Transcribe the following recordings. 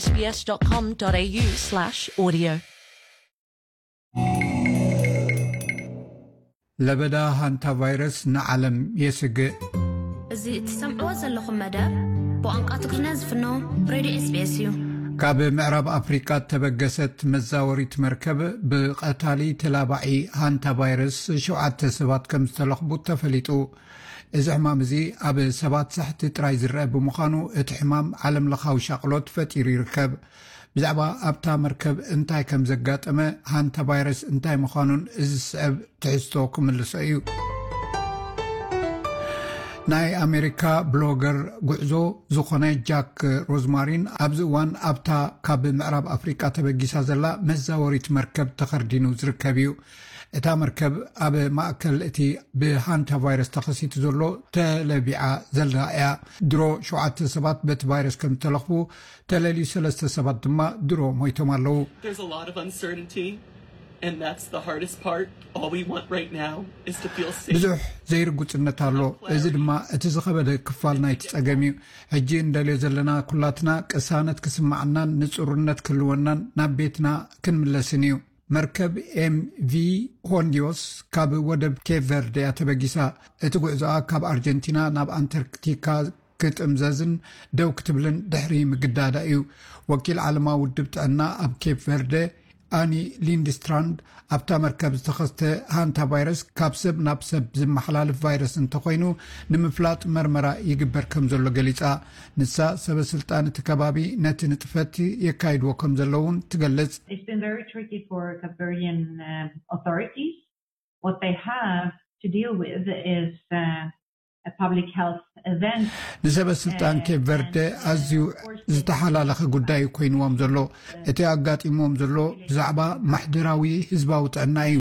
sbs.com.au/audio. ለበዳ ሃንታ ቫይረስ ንዓለም የስግእ። እዚ እትሰምዕዎ ዘለኹም መደብ ብቋንቋ ትግርኛ ዝፍኖ ሬድዮ SBS እዩ። ካብ ምዕራብ ኣፍሪቃ እተበገሰት መዛወሪት መርከብ ብቐታሊ ተላባዒ ሃንታ ቫይረስ ሸውዓተ ሰባት ከም ዝተለኽቡ ተፈሊጡ። እዚ ሕማም እዚ ኣብ ሰባት ሳሕቲ ጥራይ ዝረአ ብምዃኑ፣ እቲ ሕማም ዓለምለኻዊ ሻቕሎት ፈጢሩ ይርከብ። ብዛዕባ ኣብታ መርከብ እንታይ ከም ዘጋጠመ፣ ሃንታ ቫይረስ እንታይ ምዃኑን እዚ ዝስዕብ ትሕዝቶ ክምልሶ እዩ። ናይ ኣሜሪካ ብሎገር ጉዕዞ ዝኾነ ጃክ ሮዝማሪን ኣብዚ እዋን ኣብታ ካብ ምዕራብ ኣፍሪቃ ተበጊሳ ዘላ መዛወሪት መርከብ ተኸርዲኑ ዝርከብ እዩ። እታ መርከብ ኣብ ማእከል እቲ ብሃንታ ቫይረስ ተኸሲቱ ዘሎ ተለቢዓ ዘላ እያ። ድሮ ሸውዓተ ሰባት በቲ ቫይረስ ከም ዝተለኽፉ ተለልዩ፣ ሰለስተ ሰባት ድማ ድሮ ሞይቶም ኣለዉ። There's a lot of uncertainty, and that's the hardest part. All we want right now is to feel safe. ብዙሕ ዘይርጉጽነት ኣሎ። እዚ ድማ እቲ ዝኸበደ ክፋል ናይቲ ጸገም እዩ። ሕጂ እንደልዮ ዘለና ኩላትና ቅሳነት ክስማዓናን ንጹርነት ክህልወናን ናብ ቤትና ክንምለስን እዩ። መርከብ ኤምቪ ሆንዲዮስ ካብ ወደብ ኬፕ ቨርደ እያ ተበጊሳ። እቲ ጉዕዞኣ ካብ ኣርጀንቲና ናብ ኣንታርክቲካ ክጥምዘዝን ደው ክትብልን ድሕሪ ምግዳዳ እዩ። ወኪል ዓለማዊ ውድብ ጥዕና ኣብ ኬፕ ቨርደ ኣኒ ሊንድስትራንድ፣ ኣብታ መርከብ ዝተኸስተ ሃንታ ቫይረስ ካብ ሰብ ናብ ሰብ ዝመሓላልፍ ቫይረስ እንተኾይኑ ንምፍላጥ መርመራ ይግበር ከም ዘሎ ገሊጻ። ንሳ ሰበ ስልጣን እቲ ከባቢ ነቲ ንጥፈት የካይድዎ ከም ዘለውን ትገልጽ። It's been very tricky for Cape Verdean um, authorities. What they have to deal with is uh, a public health event. ንሰበ ስልጣን ኬፕ ቨርደ ኣዝዩ ዝተሓላለኸ ጉዳይ ኮይንዎም ዘሎ። እቲ ኣጋጢምዎም ዘሎ ብዛዕባ ማሕደራዊ ህዝባዊ ጥዕና እዩ።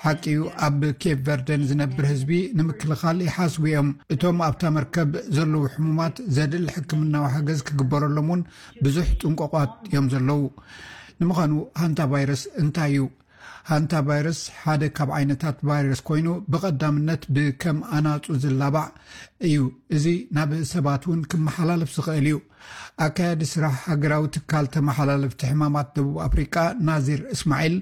ሓቂ እዩ፣ ኣብ ኬፕ ቨርደ ንዝነብር ህዝቢ ንምክልኻል ይሓስቡ እዮም። እቶም ኣብታ መርከብ ዘለዉ ሕሙማት ዘድሊ ሕክምናዊ ሓገዝ ክግበረሎም እውን ብዙሕ ጥንቆቋት እዮም ዘለዉ። ንምዃኑ ሃንታ ቫይረስ እንታይ እዩ? ሃንታ ቫይረስ ሓደ ካብ ዓይነታት ቫይረስ ኮይኑ ብቐዳምነት ብከም ኣናጹ ዝላባዕ እዩ። እዚ ናብ ሰባት እውን ክመሓላለፍ ዝኽእል እዩ። ኣካያዲ ስራሕ ሃገራዊ ትካል ተመሓላለፍቲ ሕማማት ደቡብ ኣፍሪቃ ናዚር እስማዒል፣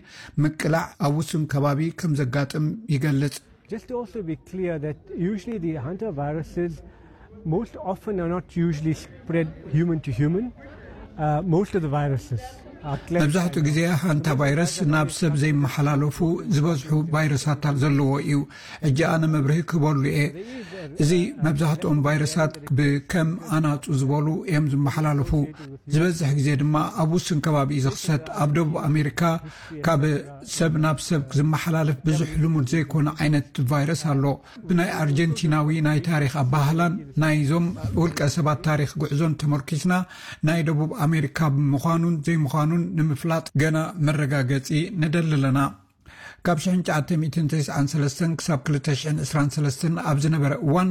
ምቅላዕ ኣብ ውሱን ከባቢ ከም ዘጋጥም ይገልጽ። Just to also be clear that usually the hantavirus most often are not usually spread human to human. Uh, most of the viruses are collected መብዛሕትኡ ግዜ ሃንታ ቫይረስ ናብ ሰብ ዘይመሓላለፉ ዝበዝሑ ቫይረሳት ዘለዎ እዩ። ሕጂ ኣነ መብርሂ ክህበሉ እየ። እዚ መብዛሕትኦም ቫይረሳት ብከም ኣናጹ ዝበሉ እዮም ዝመሓላለፉ። ዝበዝሕ ግዜ ድማ ኣብ ውሱን ከባቢ እዩ ዝኽሰት። ኣብ ደቡብ ኣሜሪካ ካብ ሰብ ናብ ሰብ ዝመሓላለፍ ብዙሕ ልሙድ ዘይኮነ ዓይነት ቫይረስ ኣሎ። ብናይ ኣርጀንቲናዊ ናይ ታሪኽ ኣባህላን ናይዞም ውልቀ ሰባት ታሪኽ ጉዕዞን ተመርኪስና፣ ናይ ደቡብ ኣሜሪካ ምዃኑን ዘይምዃኑን ንምፍላጥ ገና መረጋገጺ ንደሊ ኣለና። ካብ ሽሕን ትሽዓተ ሚእትን ተስዓን ሰለስተን ክሳብ ክልተ ሽሕን ዕስራን ሰለስተን ኣብ ዝነበረ እዋን፣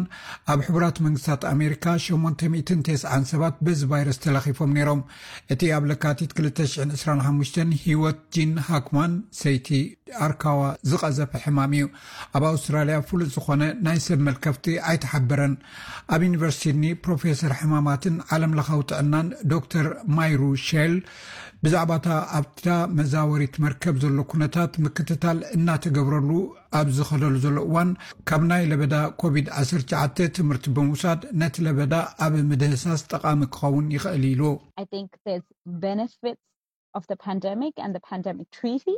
ኣብ ሕቡራት መንግስታት ኣሜሪካ ሸሞንተ ሚእትን ተስዓን ሰባት በዚ ቫይረስ ተለኺፎም ነይሮም። እቲ ኣብ ለካቲት ክልተ ሽሕን ዕስራን ሓሙሽተን ህይወት ጂን ሃክማን፣ ሰይቲ ኣርካዋ፣ ዝቐዘፈ ሕማም እዩ። ኣብ ኣውስትራልያ ፍሉጥ ዝኾነ ናይ ሰብ መልከፍቲ ኣይተሓበረን። ኣብ ዩኒቨርሲቲ ሲድኒ ፕሮፌሰር ሕማማትን ዓለም ለኻዊ ጥዕናን ዶክተር ማይሩ ሼል፣ ብዛዕባ እታ ኣብታ መዛወሪት መርከብ ዘሎ ኩነታት ምክትታል እናተገብረሉ ኣብ ዝኸደሉ ዘሎ እዋን፣ ካብ ናይ ለበዳ ኮቪድ ዓሰርተ ትሽዓተ ትምህርቲ ብምውሳድ ነቲ ለበዳ ኣብ ምድህሳስ ጠቓሚ ክኸውን ይኽእል ኢሉ። I think there's benefits of the pandemic and the pandemic treaty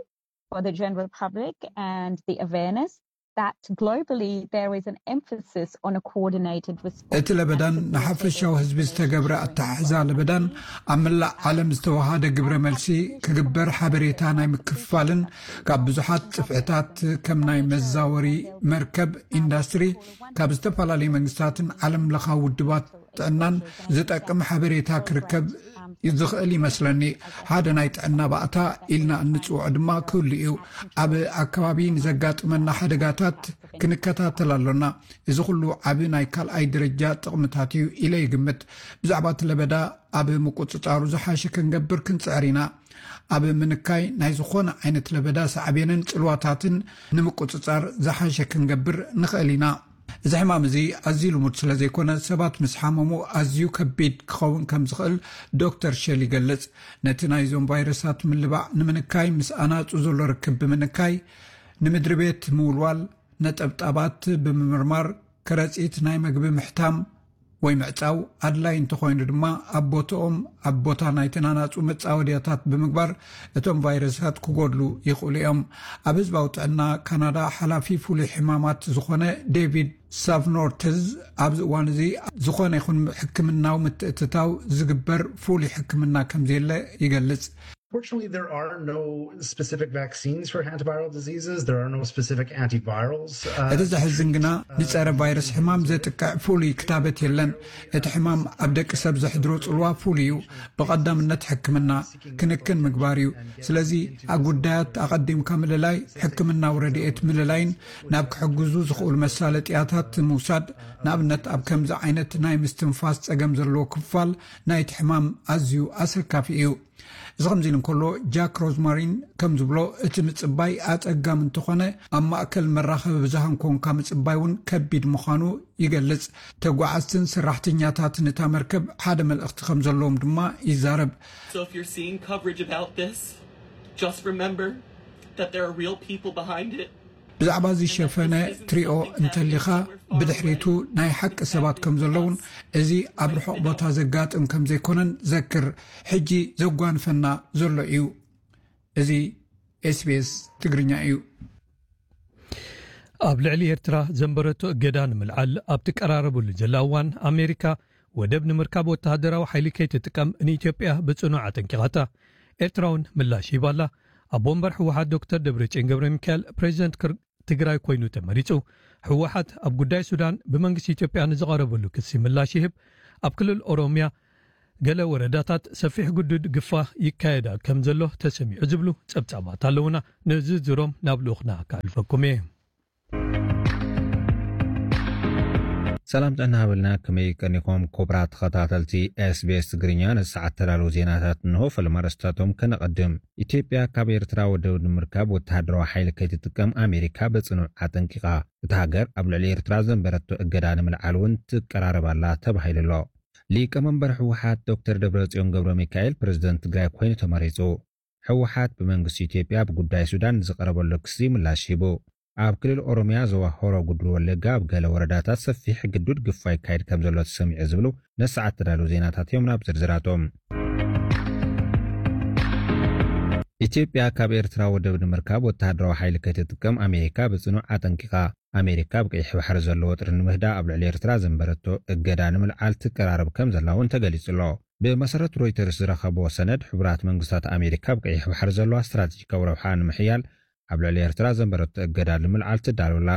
for the general public and the awareness that globally there is an emphasis on a coordinated response. እቲ ለበዳን ንሓፈሻዊ ህዝቢ ዝተገብረ ኣተሓሕዛ ለበዳን ኣብ መላእ ዓለም ዝተወሃደ ግብረ መልሲ ክግበር ሓበሬታ ናይ ምክፍፋልን ካብ ብዙሓት ጽፍዕታት ከም ናይ መዛወሪ መርከብ ኢንዳስትሪ ካብ ዝተፈላለዩ መንግስታትን ዓለም ለኻዊ ውድባት ጥዕናን ዝጠቅም ሓበሬታ ክርከብ ዝኽእል ይመስለኒ። ሓደ ናይ ጥዕና ባእታ ኢልና እንጽውዖ ድማ ክህሉ እዩ። ኣብ ኣከባቢ ንዘጋጥመና ሓደጋታት ክንከታተል ኣሎና። እዚ ኩሉ ዓቢ ናይ ካልኣይ ደረጃ ጥቕምታት እዩ ኢለ ይግምት። ብዛዕባ እቲ ለበዳ ኣብ ምቁጽጻሩ ዝሓሸ ክንገብር ክንጽዕር ኢና። ኣብ ምንካይ ናይ ዝኾነ ዓይነት ለበዳ ሳዕቤንን ጽልዋታትን ንምቁጽጻር ዝሓሸ ክንገብር ንኽእል ኢና። እዚ ሕማም እዚ ኣዝዩ ልሙድ ስለ ዘይኮነ፣ ሰባት ምስ ሓመሙ ኣዝዩ ከቢድ ክኸውን ከም ዝኽእል ዶክተር ሸል ይገልጽ። ነቲ ናይዞም ቫይረሳት ምልባዕ ንምንካይ፣ ምስ ኣናጹ ዘሎ ርክብ ብምንካይ፣ ንምድሪ ቤት ምውልዋል፣ ነጠብጣባት ብምምርማር፣ ከረጺት ናይ መግቢ ምሕታም ወይ ምዕጻው፣ ኣድላይ እንተኾይኑ ድማ ኣብ ቦታኦም፣ ኣብ ቦታ ናይ ተናናጹ መጻወድያታት ብምግባር እቶም ቫይረሳት ክጎድሉ ይኽእሉ እዮም። ኣብ ህዝባዊ ጥዕና ካናዳ ሓላፊ ፍሉይ ሕማማት ዝኾነ ዴቪድ ሳቭኖርትዝ ኣብዚ እዋን እዚ ዝኾነ ይኹን ሕክምናዊ ምትእትታው ዝግበር ፍሉይ ሕክምና ከም ዘየለ ይገልጽ። Fortunately, there are no specific vaccines for antiviral diseases. There are no specific antivirals. እቲ ዘሕዝን ግና፣ ንጸረ ቫይረስ ሕማም ዘጥቅዕ ፍሉይ ክታበት የለን። እቲ ሕማም ኣብ ደቂ ሰብ ዘሕድሮ ጽልዋ ፍሉይ እዩ። ብቐዳምነት ሕክምና ክንክን ምግባር እዩ። ስለዚ ኣብ ጉዳያት ኣቐዲምካ ምልላይ፣ ሕክምናዊ ረድኤት ምልላይን ናብ ክሕግዙ ዝኽእሉ መሳለጥያታት ምውሳድ፣ ንኣብነት ኣብ ከምዚ ዓይነት ናይ ምስትንፋስ ጸገም ዘለዎ ክፋል ናይቲ ሕማም ኣዝዩ ኣሰካፊ እዩ። እዚ ከምዚ ኢሉ እንከሎ፣ ጃክ ሮዝማሪን ከም ዝብሎ፣ እቲ ምጽባይ ኣጸጋሚ እንተኾነ፣ ኣብ ማእከል መራኸቢ ብዝሃን ኮንካ ምጽባይ እውን ከቢድ ምዃኑ ይገልጽ። ተጓዓዝትን ሰራሕተኛታትን እታ መርከብ ሓደ መልእኽቲ ከም ዘለዎም ድማ ይዛረብ። So if you're seeing coverage about this, just remember that there are real people behind it. ብዛዕባ እዚ ሸፈነ ትሪኦ እንተሊኻ፣ ብድሕሪቱ ናይ ሓቂ ሰባት ከም ዘለውን፣ እዚ ኣብ ርሑቕ ቦታ ዘጋጥም ከም ዘይኮነን ዘክር። ሕጂ ዘጓንፈና ዘሎ እዩ። እዚ ኤስቢኤስ ትግርኛ እዩ። ኣብ ልዕሊ ኤርትራ ዘንበረቶ እገዳ ንምልዓል ኣብ ትቀራረበሉ ዘላ እዋን፣ ኣሜሪካ ወደብ ንምርካብ ወተሃደራዊ ሓይሊ ከይትጥቀም ንኢትዮጵያ ብጽኑዕ ኣጠንቂቓታ። ኤርትራ እውን ምላሽ ሂባላ። ኣቦ ወንበር ህወሓት ዶክተር ደብረጽዮን ገብረ ሚካኤል ፕሬዚደንት ክር-፣ ትግራይ ኮይኑ ተመሪጹ። ህወሓት ኣብ ጉዳይ ሱዳን ብመንግስቲ ኢትዮጵያ ንዝቐረበሉ ክሲ ምላሽ ይህብ። ኣብ ክልል ኦሮሚያ ገለ ወረዳታት ሰፊሕ ግዱድ ግፋ ይካየዳ ከም ዘሎ ተሰሚዑ ዝብሉ ጸብጻባት ኣለውና። ንዝርዝሮም ናብ ልኡኽና ከሕልፈኩም እየ። ሰላም ጥዕና ሃበልና፣ ከመይ ቀኒኹም ክቡራት ተኸታተልቲ ኤስቢኤስ ትግርኛ? ነዚ ሰዓት ተዳለዉ ዜናታት እንሆ። ፈለማ ኣርእስታቶም ከነቐድም። ኢትዮጵያ ካብ ኤርትራ ወደብ ንምርካብ ወተሃደራዊ ሓይሊ ከይትጥቀም ኣሜሪካ ብጽኑዕ ኣጠንቂቓ። እታ ሃገር ኣብ ልዕሊ ኤርትራ ዘንበረቶ እገዳ ንምልዓል እውን ትቀራረብ ኣላ ተባሂሉ ኣሎ። ሊቀመንበር ህወሓት ዶክተር ደብረጽዮን ገብረ ሚካኤል ፕሬዚደንት ትግራይ ኮይኑ ተመሪጹ። ህወሓት ብመንግስቲ ኢትዮጵያ ብጉዳይ ሱዳን ንዝቐረበሉ ክሲ ምላሽ ሂቡ። ኣብ ክልል ኦሮሚያ ዞባ ሆሮ ጉድሩ ወለጋ ኣብ ገለ ወረዳታት ሰፊሕ ግዱድ ግፋ ይካየድ ከም ዘሎ ተሰሚዑ ዝብሉ ነሰዓት ተዳለዉ ዜናታት እዮም። ናብ ዝርዝራቶም። ኢትዮጵያ ካብ ኤርትራ ወደብ ንምርካብ ወተሃደራዊ ሓይሊ ከይትጥቀም ኣሜሪካ ብጽኑዕ ኣጠንቂቓ። ኣሜሪካ ኣብ ቀይሕ ባሕሪ ዘሎ ወጥሪ ንምህዳእ ኣብ ልዕሊ ኤርትራ ዘንበረቶ እገዳ ንምልዓል ትቀራረብ ከም ዘላ እውን ተገሊጹ ኣሎ። ብመሰረት ሮይተርስ ዝረኸቦ ሰነድ፣ ሕቡራት መንግስታት ኣሜሪካ ኣብ ቀይሕ ባሕሪ ዘለዋ ስትራቴጂካዊ ረብሓ ንምሕያል ኣብ ልዕሊ ኤርትራ ዘንበረቶ እገዳ ንምልዓል ትዳሎ ኣላ።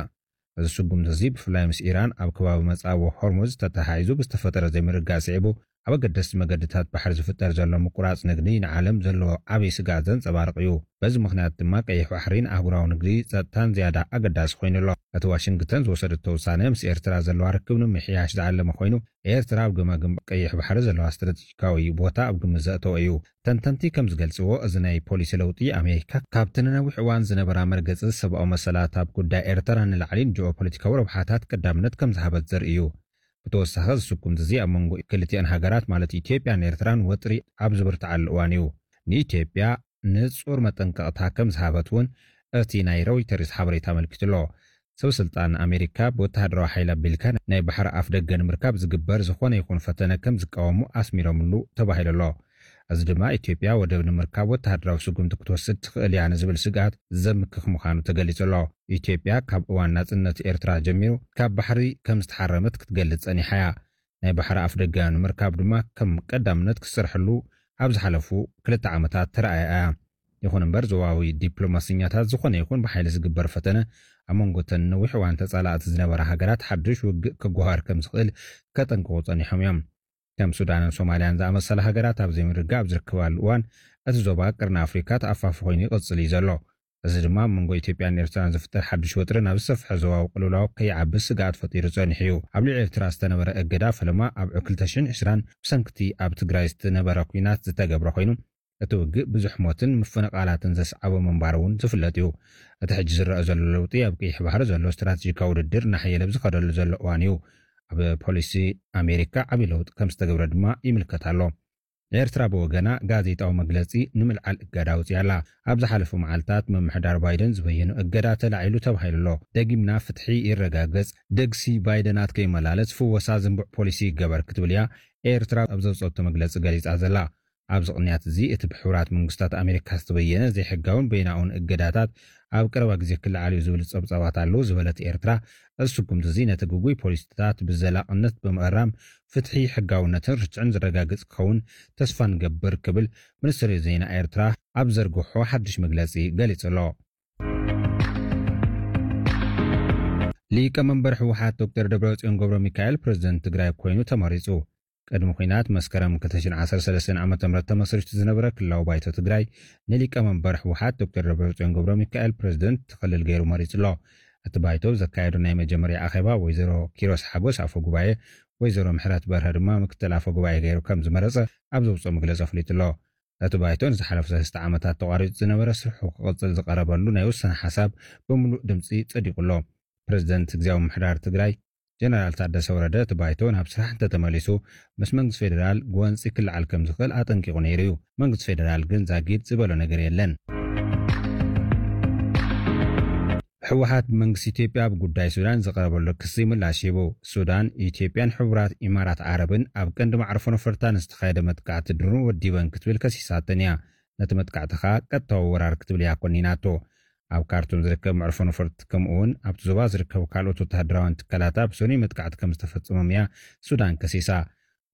እዚ ስጉምቲ እዚ ብፍላይ ምስ ኢራን ኣብ ከባቢ መጻብቦ ሆርሙዝ ተተሓሒዙ ብዝተፈጠረ ዘይምርግጋእ ስዒቡ፣ ኣብ ኣገደስቲ መገድታት ባሕሪ ዝፍጠር ዘሎ ምቁራጽ ንግዲ ንዓለም ዘለዎ ዓብዪ ስግኣት ዘንጸባርቕ እዩ። በዚ ምኽንያት ድማ ቀይሕ ባሕሪን ኣህጉራዊ ንግዲ ጸጥታን ዝያዳ ኣገዳሲ ኮይኑ ኣሎ። እቲ ዋሽንግተን ዝወሰደቶ ውሳነ ምስ ኤርትራ ዘለዋ ርክብ ንምምሕያሽ ዝዓለመ ኮይኑ፣ ኤርትራ ኣብ ገማግም ቀይሕ ባሕሪ ዘለዋ ስትራቴጂካዊ ቦታ ኣብ ግምት ዘእተወ እዩ። ተንተንቲ ከም ዝገልጽዎ፣ እዚ ናይ ፖሊሲ ለውጢ ኣሜሪካ ካብቲ ንነዊሕ እዋን ዝነበራ መርገጺ ሰብኣዊ መሰላት ኣብ ጉዳይ ኤርትራ ንላዕሊን ጂኦፖለቲካዊ ረብሓታት ቀዳምነት ከም ዝሃበት ዘርኢ እዩ። ብተወሳኺ፣ እዚ ስጉምቲ እዚ ኣብ መንጎ ክልቲኣን ሃገራት፣ ማለት ኢትዮጵያን ኤርትራን፣ ወጥሪ ኣብ ዝብርትዓሉ እዋን እዩ። ንኢትዮጵያ ንጹር መጠንቀቕታ ከም ዝሃበት እውን እቲ ናይ ሮይተርስ ሓበሬታ ኣመልኪቱ ኣሎ። ሰብ ስልጣን ኣሜሪካ ብወተሃደራዊ ሓይሊ ኣቢልካ ናይ ባሕሪ ኣፍ ደገ ንምርካብ ዝግበር ዝኾነ ይኹን ፈተነ ከም ዝቃወሙ ኣስሚሮምሉ ተባሂሉ ኣሎ። እዚ ድማ ኢትዮጵያ ወደብ ንምርካብ ወተሃደራዊ ስጉምቲ ክትወስድ ትኽእል እያ ንዝብል ስግኣት ዘምክኽ ምዃኑ ተገሊጹ ኣሎ። ኢትዮጵያ ካብ እዋን ናጽነት ኤርትራ ጀሚሩ ካብ ባሕሪ ከም ዝተሓረመት ክትገልጽ ጸኒሓ እያ። ናይ ባሕሪ ኣፍ ደገ ንምርካብ ድማ ከም ቀዳምነት ክትሰርሐሉ ኣብ ዝሓለፉ ክልተ ዓመታት ተራእያ እያ። ይኹን እምበር፣ ዞባዊ ዲፕሎማሰኛታት ዝኾነ ይኹን ብሓይሊ ዝግበር ፈተነ ኣብ መንጎ እተን ነዊሕ እዋን ተጻላእቲ ዝነበራ ሃገራት ሓድሽ ውግእ ክጓሃር ከም ዝኽእል ከጠንቅቑ ጸኒሖም እዮም። ከም ሱዳንን ሶማልያን ዝኣመሰላ ሃገራት ኣብ ዘይምርግጋእ ኣብ ዝርከባሉ እዋን፣ እቲ ዞባ ቅርኒ ኣፍሪካ ተኣፋፊ ኮይኑ ይቕጽል እዩ ዘሎ። እዚ ድማ ኣብ መንጎ ኢትዮጵያን ኤርትራን ዝፍጠር ሓድሽ ወጥሪ ናብ ዝሰፍሐ ዞባዊ ቅልውላው ከይዓቢ ስግኣት ፈጢሩ ጸኒሑ እዩ። ኣብ ልዕሊ ኤርትራ ዝተነበረ እገዳ ፈለማ ኣብ ክልተ ሽሕን ዕስራን ብሰንክቲ ኣብ ትግራይ ዝተነበረ ኲናት ዝተገብረ ኮይኑ፣ እቲ ውግእ ብዙሕ ሞትን ምፍንቓላትን ዘስዓቦ ምንባሩ እውን ዝፍለጥ እዩ። እቲ ሕጂ ዝረአ ዘሎ ለውጢ ኣብ ቀይሕ ባሕሪ ዘሎ ስትራቴጂካዊ ውድድር እናሓየለ ኣብ ዝኸደሉ ዘሎ እዋን እዩ። ኣብ ፖሊሲ ኣሜሪካ ዓብዪ ለውጢ ከም ዝተገብረ ድማ ይምልከት ኣሎ። ኤርትራ ብወገና ጋዜጣዊ መግለጺ ንምልዓል እገዳ ኣውጺኣ ኣላ። ኣብ ዝሓለፉ መዓልታት ምምሕዳር ባይደን ዝበየኖ እገዳ ተላዒሉ ተባሂሉ ኣሎ። ደጊምና ፍትሒ ይረጋገጽ፣ ደግሲ ባይደናት ከይመላለስ ፍወሳ ዝንቡዕ ፖሊሲ ይገበር ክትብል እያ ኤርትራ ኣብ ዘውጸቶ መግለጺ ገሊጻ ዘላ። ኣብዚ ቅንያት እዚ እቲ ብሕቡራት መንግስታት ኣሜሪካ ዝተበየነ ዘይሕጋውን በይናውን እገዳታት ኣብ ቀረባ ግዜ ክለዓል እዩ ዝብል ጸብጻባት ኣለዉ ዝበለት ኤርትራ፣ እዚ ስጉምቲ እዚ ነቲ ግጉይ ፖሊሲታት ብዘላቕነት ብምእራም ፍትሒ፣ ሕጋውነትን ርትዕን ዝረጋግጽ ክኸውን ተስፋ ንገብር ክብል ሚኒስትሪ ዜና ኤርትራ ኣብ ዘርግሖ ሓድሽ መግለጺ ገሊጹ ኣሎ። ሊቀ መንበር ህወሓት ዶክተር ደብረጽዮን ገብረ ሚካኤል ፕሬዝደንት ትግራይ ኮይኑ ተመሪጹ። ቅድሚ ኲናት መስከረም ክልተ ሽሕን ዓሰርተ ሰለስተን ዓመተ ምህረት ተመስሪቱ ዝነበረ ክልላዊ ባይቶ ትግራይ ንሊቀ መንበር ህወሓት ዶክተር ደብረጽዮን ገብረ ሚካኤል ፕሬዝደንት እቲ ክልል ገይሩ መሪጹ ኣሎ። እቲ ባይቶ ዘካየዶ ናይ መጀመርያ ኣኼባ ወይዘሮ ኪሮስ ሓጎስ ኣፈ ጉባኤ፣ ወይዘሮ ምሕረት በርሀ ድማ ምክትል ኣፈ ጉባኤ ገይሩ ከም ዝመረጸ ኣብ ዘውፅኦ መግለጺ ኣፍሊጡ ኣሎ። እቲ ባይቶ ንዝሓለፉ ሰለስተ ዓመታት ተቋሪጹ ዝነበረ ስርሑ ክቕጽል ዝቐረበሉ ናይ ውሳነ ሓሳብ ብምሉእ ድምጺ ጸዲቑ ኣሎ። ፕሬዝደንት ግዝያዊ ምምሕዳር ትግራይ ጀነራል ታደሰ ወረደ እቲ ባይቶ ናብ ስራሕ እንተተመሊሱ ምስ መንግስቲ ፌደራል ጎንፂ ክለዓል ከም ዝኽእል ኣጠንቂቑ ነይሩ እዩ። መንግስቲ ፌደራል ግን ዛጊድ ዝበሎ ነገር የለን። ህወሓት ብመንግስቲ ኢትዮጵያ ኣብ ጉዳይ ሱዳን ዝቐረበሉ ክሲ ምላሽ ሂቡ። ሱዳን፣ ኢትዮጵያን ሕቡራት ኢማራት ዓረብን ኣብ ቀንዲ መዕርፎ ነፈርታ ንዝተኻየደ መጥቃዕቲ ድሮን ወዲበን ክትብል ከሲሳተን እያ። ነቲ መጥቃዕቲ ኸኣ ቀጥታዊ ወራር ክትብል እያ ኮኒናቶ። ኣብ ካርቱም ዝርከብ መዕርፎ ነፈርቲ ከምኡ እውን ኣብቲ ዞባ ዝርከቡ ካልኦት ወተሃደራውያን ትካላታ ብሰኑይ መጥቃዕቲ ከም ዝተፈጸሞም እያ ሱዳን ከሲሳ።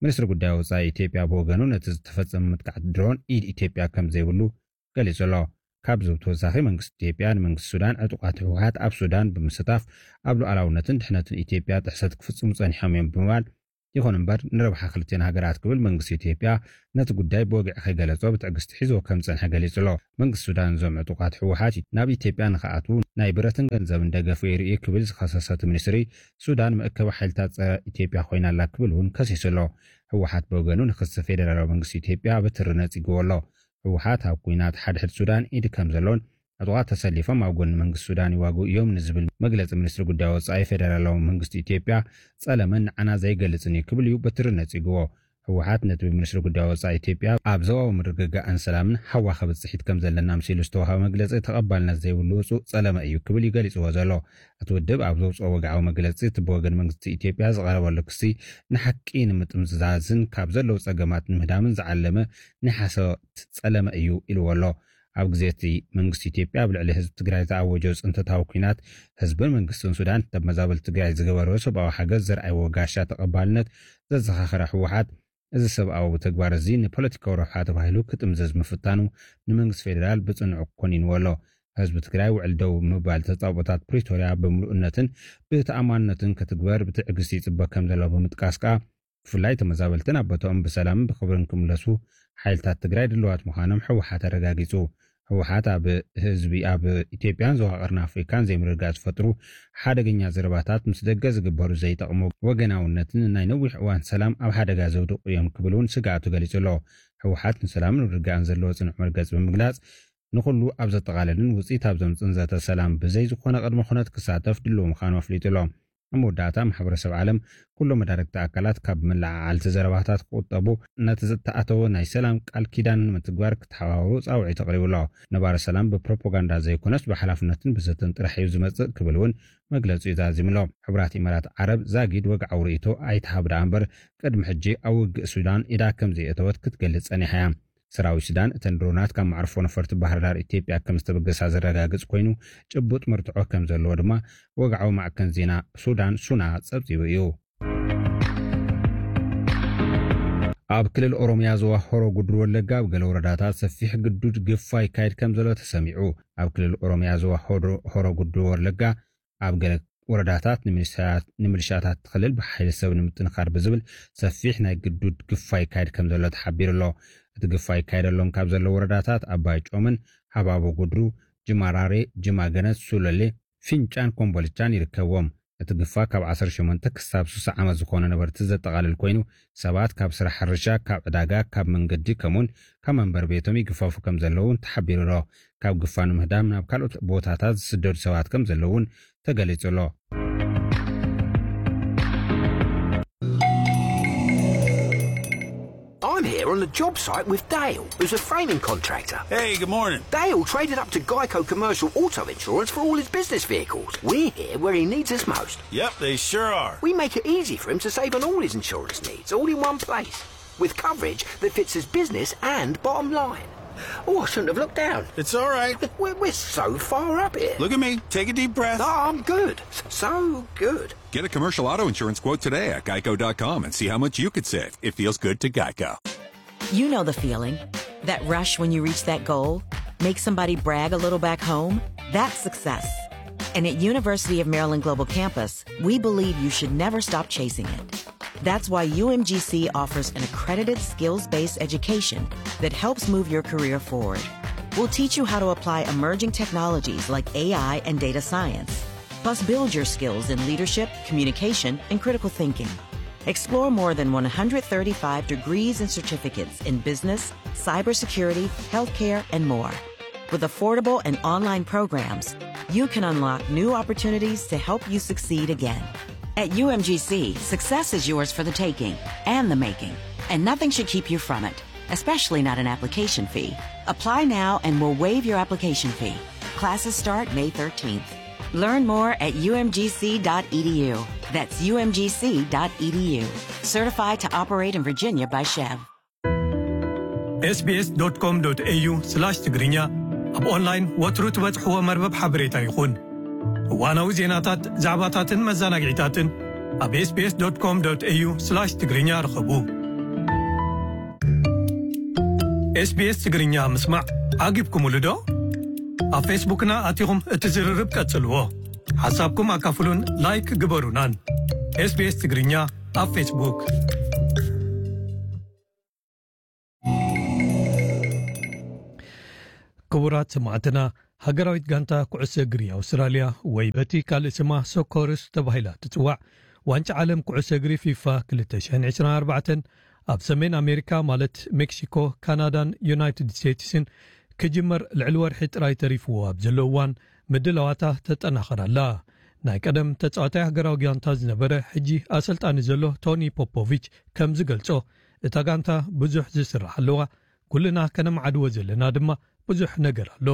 ሚኒስትሪ ጉዳይ ወጻኢ ኢትዮጵያ ብወገኑ ነቲ ዝተፈጸመ መጥቃዕቲ ድሮን ኢድ ኢትዮጵያ ከም ዘይብሉ ገሊጹ ኣሎ። ካብዚ ብተወሳኺ መንግስቲ ኢትዮጵያ ንመንግስቲ ሱዳን ዕጡቓት ህወሓት ኣብ ሱዳን ብምስታፍ ኣብ ሉዓላውነትን ድሕነትን ኢትዮጵያ ጥሕሰት ክፍጽሙ ጸኒሖም እዮም ብምባል ይኹን እምበር ንረብሓ ክልቲኤን ሃገራት ክብል መንግስቲ ኢትዮጵያ ነቲ ጉዳይ ብወግዒ ከይገለጾ ብትዕግስቲ ሒዝዎ ከም ዝጸንሐ ገሊጹ ኣሎ። መንግስቲ ሱዳን እዞም ዕጡቓት ህወሓት ናብ ኢትዮጵያ ንኽኣትዉ ናይ ብረትን ገንዘብን ደገፍ ገይሩ እዩ ክብል ዝኸሰሰ እቲ ሚኒስትሪ ሱዳን መእከቢ ሓይልታት ጸረ ኢትዮጵያ ኮይና ኣላ ክብል እውን ከሲሱ ኣሎ። ህወሓት ብወገኑ ንክሲ ፌደራላዊ መንግስቲ ኢትዮጵያ ብትሪ ነጺግዎ ኣሎ። ህወሓት ኣብ ኲናት ሓድሕድ ሱዳን ኢድ ከም ዘሎን ዕጡቓት ተሰሊፎም ኣብ ጎኒ መንግስቲ ሱዳን ይዋግኡ እዮም ንዝብል መግለጺ ሚኒስትሪ ጉዳይ ወጻኢ ፌደራላዊ መንግስቲ ኢትዮጵያ ጸለመን ንዓና ዘይገልጽን እዩ ክብል እዩ በትሪ ነጺግዎ። ህወሓት ነቲ ብሚኒስትሪ ጉዳይ ወጻኢ ኢትዮጵያ ኣብ ዞባዊ ምርግጋእን ሰላምን ሃዋኸ ብጽሒት ከም ዘለና ኣምሲሉ ዝተዋህበ መግለጺ ተቐባልነት ዘይብሉ ውጹእ ጸለመ እዩ ክብል እዩ ገሊጽዎ ዘሎ። እቲ ውድብ ኣብ ዘውጽኦ ወግዓዊ መግለጺ እቲ ብወገን መንግስቲ ኢትዮጵያ ዝቐረበሉ ክሲ ንሓቂ ንምጥምዛዝን ካብ ዘለዉ ጸገማት ንምህዳምን ዝዓለመ ናይ ሓሶት ጸለመ እዩ ኢልዎ ኣሎ። ኣብ ግዜ እቲ መንግስቲ ኢትዮጵያ ኣብ ልዕሊ ህዝቢ ትግራይ ዝኣወጆ ጽንተታዊ ኲናት ህዝብን መንግስትን ሱዳን ተመዛበልቲ ትግራይ ዝገበርዎ ሰብኣዊ ሓገዝ ዘርኣይዎ ጋሻ ተቐባልነት ዘዘኻኸረ ህወሓት እዚ ሰብኣዊ ተግባር እዚ ንፖለቲካዊ ረብሓ ተባሂሉ ክጥምዘዝ ምፍታኑ ንመንግስቲ ፌደራል ብጽኑዕ ኮኒንዎ ኣሎ። ህዝቢ ትግራይ ውዕል ደው ምባል ተጻብኦታት ፕሪቶርያ ብምሉእነትን ብተኣማንነትን ክትግበር ብትዕግስቲ ይጽበ ከም ዘሎ ብምጥቃስ ከኣ ብፍላይ ተመዛበልትን ኣብ ቦታኦም ብሰላምን ብኽብርን ክምለሱ ሓይልታት ትግራይ ድልዋት ምዃኖም ህወሓት ኣረጋጊጹ። ህወሓት ኣብ ህዝቢ ኣብ ኢትዮጵያን ዞባ ቀርኒ ኣፍሪካን ዘይምርግጋእ ዝፈጥሩ ሓደገኛ ዘረባታት ምስ ደገ ዝግበሩ ዘይጠቕሙ ወገናውነትን ናይ ነዊሕ እዋን ሰላም ኣብ ሓደጋ ዘውድቑ እዮም ክብል እውን ስግኣቱ ገሊጹ ኣሎ። ህወሓት ንሰላምን ምርግጋእን ዘለዎ ጽኑዕ መርገጺ ብምግላጽ ንኹሉ ኣብ ዘጠቓለልን ውጽኢት ኣብ ዘምጽእን ዘተ ሰላም ብዘይ ዝኾነ ቅድመ ኩነት ክሳተፍ ድሉው ምዃኑ ኣፍሊጡ ኣሎ። ኣብ መወዳእታ ማሕበረሰብ ዓለም ኩሎም መዳርግቲ ኣካላት ካብ መለዓዓልቲ ዘረባታት ክቑጠቡ ነቲ ዝተኣተወ ናይ ሰላም ቃል ኪዳን ንምትግባር ክተሓባበሩ ጻውዒት ኣቕሪቡ ኣሎ። ነባሪ ሰላም ብፕሮፓጋንዳ ዘይኮነስ ብሓላፍነትን ብዘተን ጥራሕ እዩ ዝመጽእ ክብል እውን መግለጺኡ ዛዚሙ ኣሎ። ሕቡራት ኢማራት ዓረብ ዛጊድ ወግዓዊ ርእይቶ ኣይትሃብ ደኣ እምበር ቅድሚ ሕጂ ኣብ ውግእ ሱዳን ኢዳ ከም ዘየእተወት ክትገልጽ ጸኒሓ እያ። ሰራዊት ሱዳን እተን ድሮናት ካብ መዕርፎ ነፈርቲ ባህር ዳር ኢትዮጵያ ከም ዝተበገሳ ዘረጋግጽ ኮይኑ ጭቡጥ መርትዖ ከም ዘለዎ ድማ ወግዓዊ ማዕከን ዜና ሱዳን ሱና ጸብጺቡ እዩ። ኣብ ክልል ኦሮሚያ ዞባ ሆሮ ጉድሩ ወለጋ ኣብ ገለ ወረዳታት ሰፊሕ ግዱድ ግፋ ይካየድ ከም ዘሎ ተሰሚዑ። ኣብ ክልል ኦሮሚያ ዞባ ሆሮ ጉድሩ ወለጋ ኣብ ገለ ወረዳታት ንምልሻታት ክልል ብሓይሊ ሰብ ንምጥንኻር ብዝብል ሰፊሕ ናይ ግዱድ ግፋ ይካየድ ከም ዘሎ ተሓቢሩ ኣሎ። እቲ ግፋ ይካየደሎም ካብ ዘሎ ወረዳታት ኣባይ ጮምን፣ ሃባቦ ጉድሩ፣ ጅማራሬ፣ ጅማገነት፣ ሱለሌ፣ ፊንጫን ኮምቦልቻን ይርከብዎም። እቲ ግፋ ካብ ዓሰርተ ሸሞንተ ክሳብ ስሳ ዓመት ዝኾኑ ነበርቲ ዘጠቓልል ኮይኑ፣ ሰባት ካብ ስራሕ ሕርሻ፣ ካብ ዕዳጋ፣ ካብ መንገዲ፣ ከምኡውን ካብ መንበሪ ቤቶም ይግፈፉ ከም ዘለዉ እውን ተሓቢሩ ኣሎ። ካብ ግፋ ንምህዳም ናብ ካልኦት ቦታታት ዝስደዱ ሰባት ከም ዘለዉ እውን ተገሊጹ ኣሎ። I'm here on the job site with Dale, who's a framing contractor. Hey, good morning. Dale traded up to Geico Commercial Auto Insurance for all his business vehicles. We're here where he needs us most. Yep, they sure are. We make it easy for him to save on all his insurance needs, all in one place, with coverage that fits his business and bottom line. Oh, I shouldn't have looked down. It's all right. We're, we're so far up here. Look at me. Take a deep breath. Oh, I'm good. S- So good. Get a commercial auto insurance quote today at geico dot com and see how much you could save. It feels good to Geico. You know the feeling. That rush when you reach that goal makes somebody brag a little back home. That's success. And at University of Maryland Global Campus, we believe you should never stop chasing it. That's why U M G C offers an accredited skills based education that helps move your career forward. We'll teach you how to apply emerging technologies like A I and data science. Plus, build your skills in leadership, communication, and critical thinking. Explore more than one hundred thirty-five degrees and certificates in business, cybersecurity, healthcare, and more. With affordable and online programs, you can unlock new opportunities to help you succeed again. At U M G C, success is yours for the taking and the making, and nothing should keep you from it, especially not an application fee. Apply now and we'll waive your application fee. Classes start May thirteenth. Learn more at U M G C dot E D U. That's U M G C dot E D U. Certified to operate in Virginia by Chev. S B S dot com dot A U slash ትግርኛ ኣብ ኦንላይን ወትሩ ትበጽሕዎ መርበብ ሓበሬታ ይኹን። እዋናዊ ዜናታት፣ ዛዕባታትን መዘናግዒታትን ኣብ S B S dot com dot A U slash ትግርኛ ርኸቡ። S B S ትግርኛ ምስማዕ ዓጊብኩምሉ ዶ? ኣብ ፌስቡክና ኣቲኹም እቲ ዝርርብ ቀጽልዎ። ሓሳብኩም ኣካፍሉን ላይክ ግበሩናን። S B S ትግርኛ ኣብ ፌስቡክ። ክቡራት ሰማዕትና፣ ሃገራዊት ጋንታ ኩዕሶ እግሪ ኣውስትራልያ፣ ወይ በቲ ካልእ ስማ ሶኮሩስ ተባሂላ ትጽዋዕ፣ ዋንጫ ዓለም ኩዕሶ እግሪ ፊፋ ክልተ ሽሕን ዕስራን ኣርባዕተን ኣብ ሰሜን ኣሜሪካ ማለት ሜክሲኮ፣ ካናዳን ዩናይትድ ስቴትስን ክጅመር ልዕሊ ወርሒ ጥራይ ተሪፍዎ ኣብ ዘሎ እዋን ምድላዋታ ተጠናኽር ኣላ። ናይ ቀደም ተጻዋታይ ሃገራዊ ጋንታ ዝነበረ ሕጂ ኣሰልጣኒ ዘሎ ቶኒ ፖፖቪች ከም ዝገልጾ፣ እታ ጋንታ ብዙሕ ዝስራሕ ኣለዋ፣ ኩልና ከነማዕድዎ ዘለና ድማ ብዙሕ ነገር ኣሎ።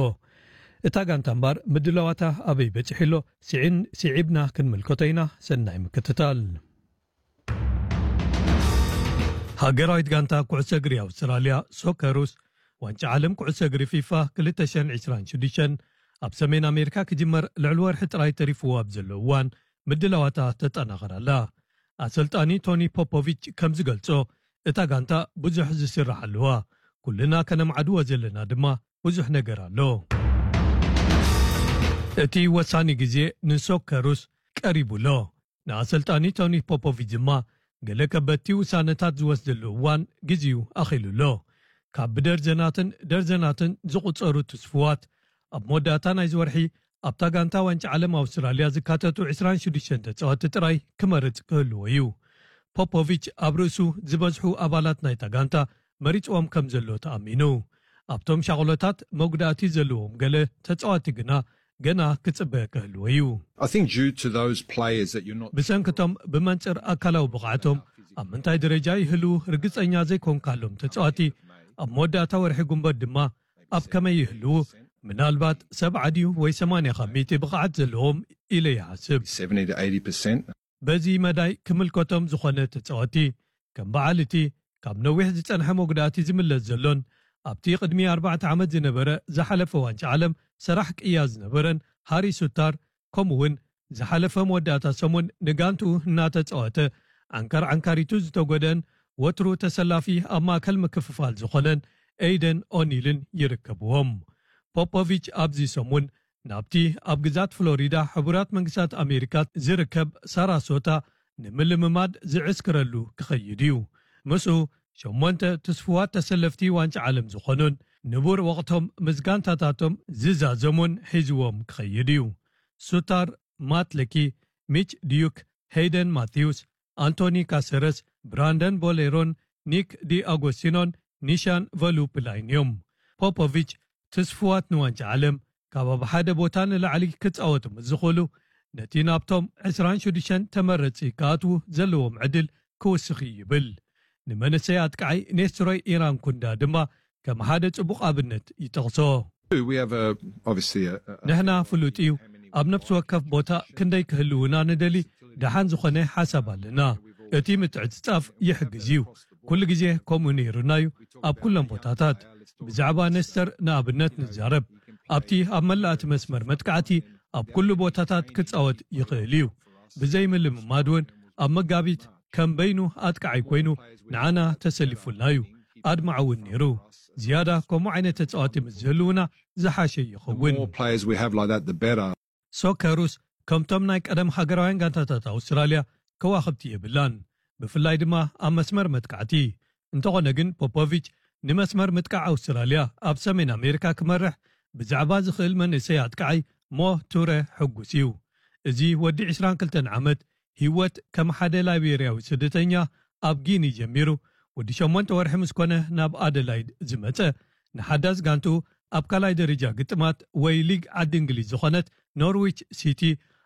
እታ ጋንታ እምባር ምድላዋታ ኣበይ በጺሑ ኣሎ ስዒን ስዒብና ክንምልከቶ ኢና። ሰናይ ምክትታል። ሃገራዊት ጋንታ ኩዕሶ እግሪ ኣውስትራልያ ሶከሩስ ዋንጫ ዓለም ኩዕሶ እግሪ ፊፋ ክልተ ሽሕን ዕስራን ሽዱሽተን ኣብ ሰሜን ኣሜሪካ ክጅመር ልዕሊ ወርሒ ጥራይ ተሪፍዎ ኣብ ዘሎ እዋን ምድላዋታ ተጠናኸር ኣላ። ኣሰልጣኒ ቶኒ ፖፖቪች ከም ዝገልጾ፣ እታ ጋንታ ብዙሕ ዝስራሕ ኣለዋ፣ ኩልና ከነምዓድዎ ዘለና ድማ ብዙሕ ነገር ኣሎ። እቲ ወሳኒ ግዜ ንሶከሩስ ቀሪቡ ኣሎ። ንኣሰልጣኒ ቶኒ ፖፖቪች ድማ ገለ ከበድቲ ውሳነታት ዝወስደሉ እዋን ግዜኡ ኣኺሉ ኣሎ። ካብ ብደርዘናትን ደርዘናትን ዝቑጸሩ ትስፍዋት ኣብ መወዳእታ ናይዚ ወርሒ ኣብታ ጋንታ ዋንጫ ዓለም ኣውስትራልያ ዝካተቱ ዕስራን ሽዱሽተን ተጻወትቲ ጥራይ ክመርጽ ክህልዎ እዩ። ፖፖቪች ኣብ ርእሱ ዝበዝሑ ኣባላት ናይታ ጋንታ መሪጽዎም ከም ዘሎ ተኣሚኑ። ኣብቶም ሻቕሎታት መጉዳእቲ ዘለዎም ገለ ተጻወትቲ ግና ገና ክጽበ ክህልዎ እዩ። I think due to those players that you're not ብሰንክቶም ብመንጽር ኣካላዊ ብቕዓቶም ኣብ ምንታይ ደረጃ ይህልዉ ርግጸኛ ዘይኮንካሎም ተጻወቲ ኣብ መወዳእታ ወርሒ ጉንበት ድማ ኣብ ከመይ ይህልዉ፣ ምናልባት ሰብዓ ድዩ ወይ ሰማንያ ካብ ሚእቲ ብቕዓት ዘለዎም ኢለ ይሓስብ። seventy to eighty percent. በዚ መዳይ ክምልከቶም ዝኾነ ተጻወቲ ከም በዓል እቲ ካብ ነዊሕ ዝጸንሐ መጉዳእቲ ዝምለስ ዘሎን ኣብቲ ቅድሚ ኣርባዕተ ዓመት ዝነበረ ዝሓለፈ ዋንጫ ዓለም ሰራሕ ቅያ ዝነበረን ሃሪ ሱታር፣ ከምኡ እውን ዝሓለፈ መወዳእታ ሰሙን ንጋንትኡ እናተጻወተ ዓንካር ዓንካሪቱ ዝተጎደን ወትሩ ተሰላፊ ኣብ ማእከል ምክፍፋል ዝኾነን ኤይደን ኦኒልን ይርከብዎም። ፖፖቪች ኣብዚ ሰሙን ናብቲ ኣብ ግዛት ፍሎሪዳ ሕቡራት መንግስታት ኣሜሪካ ዝርከብ ሳራሶታ ንምልምማድ ዝዕስክረሉ ክኸይድ እዩ። ምስኡ ሸሞንተ ትስፉዋት ተሰለፍቲ ዋንጫ ዓለም ዝኾኑን ንቡር ወቕቶም ምስ ጋንታታቶም ዝዛዘሙን ሒዝዎም ክኸይድ እዩ። ሱታር፣ ማትለኪ፣ ሚች ዲዩክ፣ ሄይደን ማቲውስ፣ ኣንቶኒ ካሰረስ፣ ብራንደን ቦሌሮን፣ ኒክ ዲ ኣጎስቲኖን ኒሻን ቨሉፕላይን እዮም። ፖፖቪች ትስፍዋት ንዋንጫ ዓለም ካብ ኣብ ሓደ ቦታ ንላዕሊ ክጻወቱ ምስ ዝኽእሉ፣ ነቲ ናብቶም ዕስራን ሽዱሽተን ተመረጽቲ ክኣትዉ ዘለዎም ዕድል ክውስኽ እዩ ይብል። ንመንእሰይ ኣጥቃዓይ ኔስትሮይ ኢራን ኩንዳ ድማ ከም ሓደ ጽቡቕ ኣብነት ይጠቕሶ። We have a, obviously a, a, ንሕና ፍሉጥ እዩ፣ ኣብ ነፍሲ ወከፍ ቦታ ክንደይ ክህልውና ንደሊ ደሓን ዝኾነ ሓሳብ ኣለና። እቲ ምትዕጽጻፍ ይሕግዝ እዩ። ኩሉ ግዜ ከምኡ ነይሩና እዩ። ኣብ ኩሎም ቦታታት ብዛዕባ ነስተር ንኣብነት ንዛረብ። ኣብቲ ኣብ መላእቲ መስመር መጥቃዕቲ ኣብ ኩሉ ቦታታት ክጻወት ይኽእል እዩ። ብዘይ ምልምማድ እውን ኣብ መጋቢት ከም በይኑ ኣጥቃዓይ ኮይኑ ንዓና ተሰሊፉልና እዩ። ኣድማዕ እውን ነይሩ። ዝያዳ ከምኡ ዓይነት ተጻዋቲ ምስ ዝህልውና ዝሓሸ ይኸውን። More players we have like that, the better. ሶከሩስ ከምቶም ናይ ቀደም ሃገራውያን ጋንታታት ኣውስትራልያ ከዋኽብቲ የብላን፣ ብፍላይ ድማ ኣብ መስመር መጥቃዕቲ። እንተኾነ ግን ፖፖቪች ንመስመር ምጥቃዕ ኣውስትራልያ ኣብ ሰሜን ኣሜሪካ ክመርሕ ብዛዕባ ዝኽእል መንእሰይ ኣጥቃዓይ ሞ ቱረ ሕጉስ እዩ። እዚ ወዲ ዕስራን ክልተን ዓመት ህይወት ከም ሓደ ላይቤርያዊ ስደተኛ ኣብ ጊኒ ጀሚሩ፣ ወዲ ሸሞንተ ወርሒ ምስ ኮነ ናብ ኣደላይድ ዝመጸ፣ ንሓዳስ ጋንቱ ኣብ ካልኣይ ደረጃ ግጥማት ወይ ሊግ ዓዲ እንግሊዝ ዝኾነት ኖርዊች ሲቲ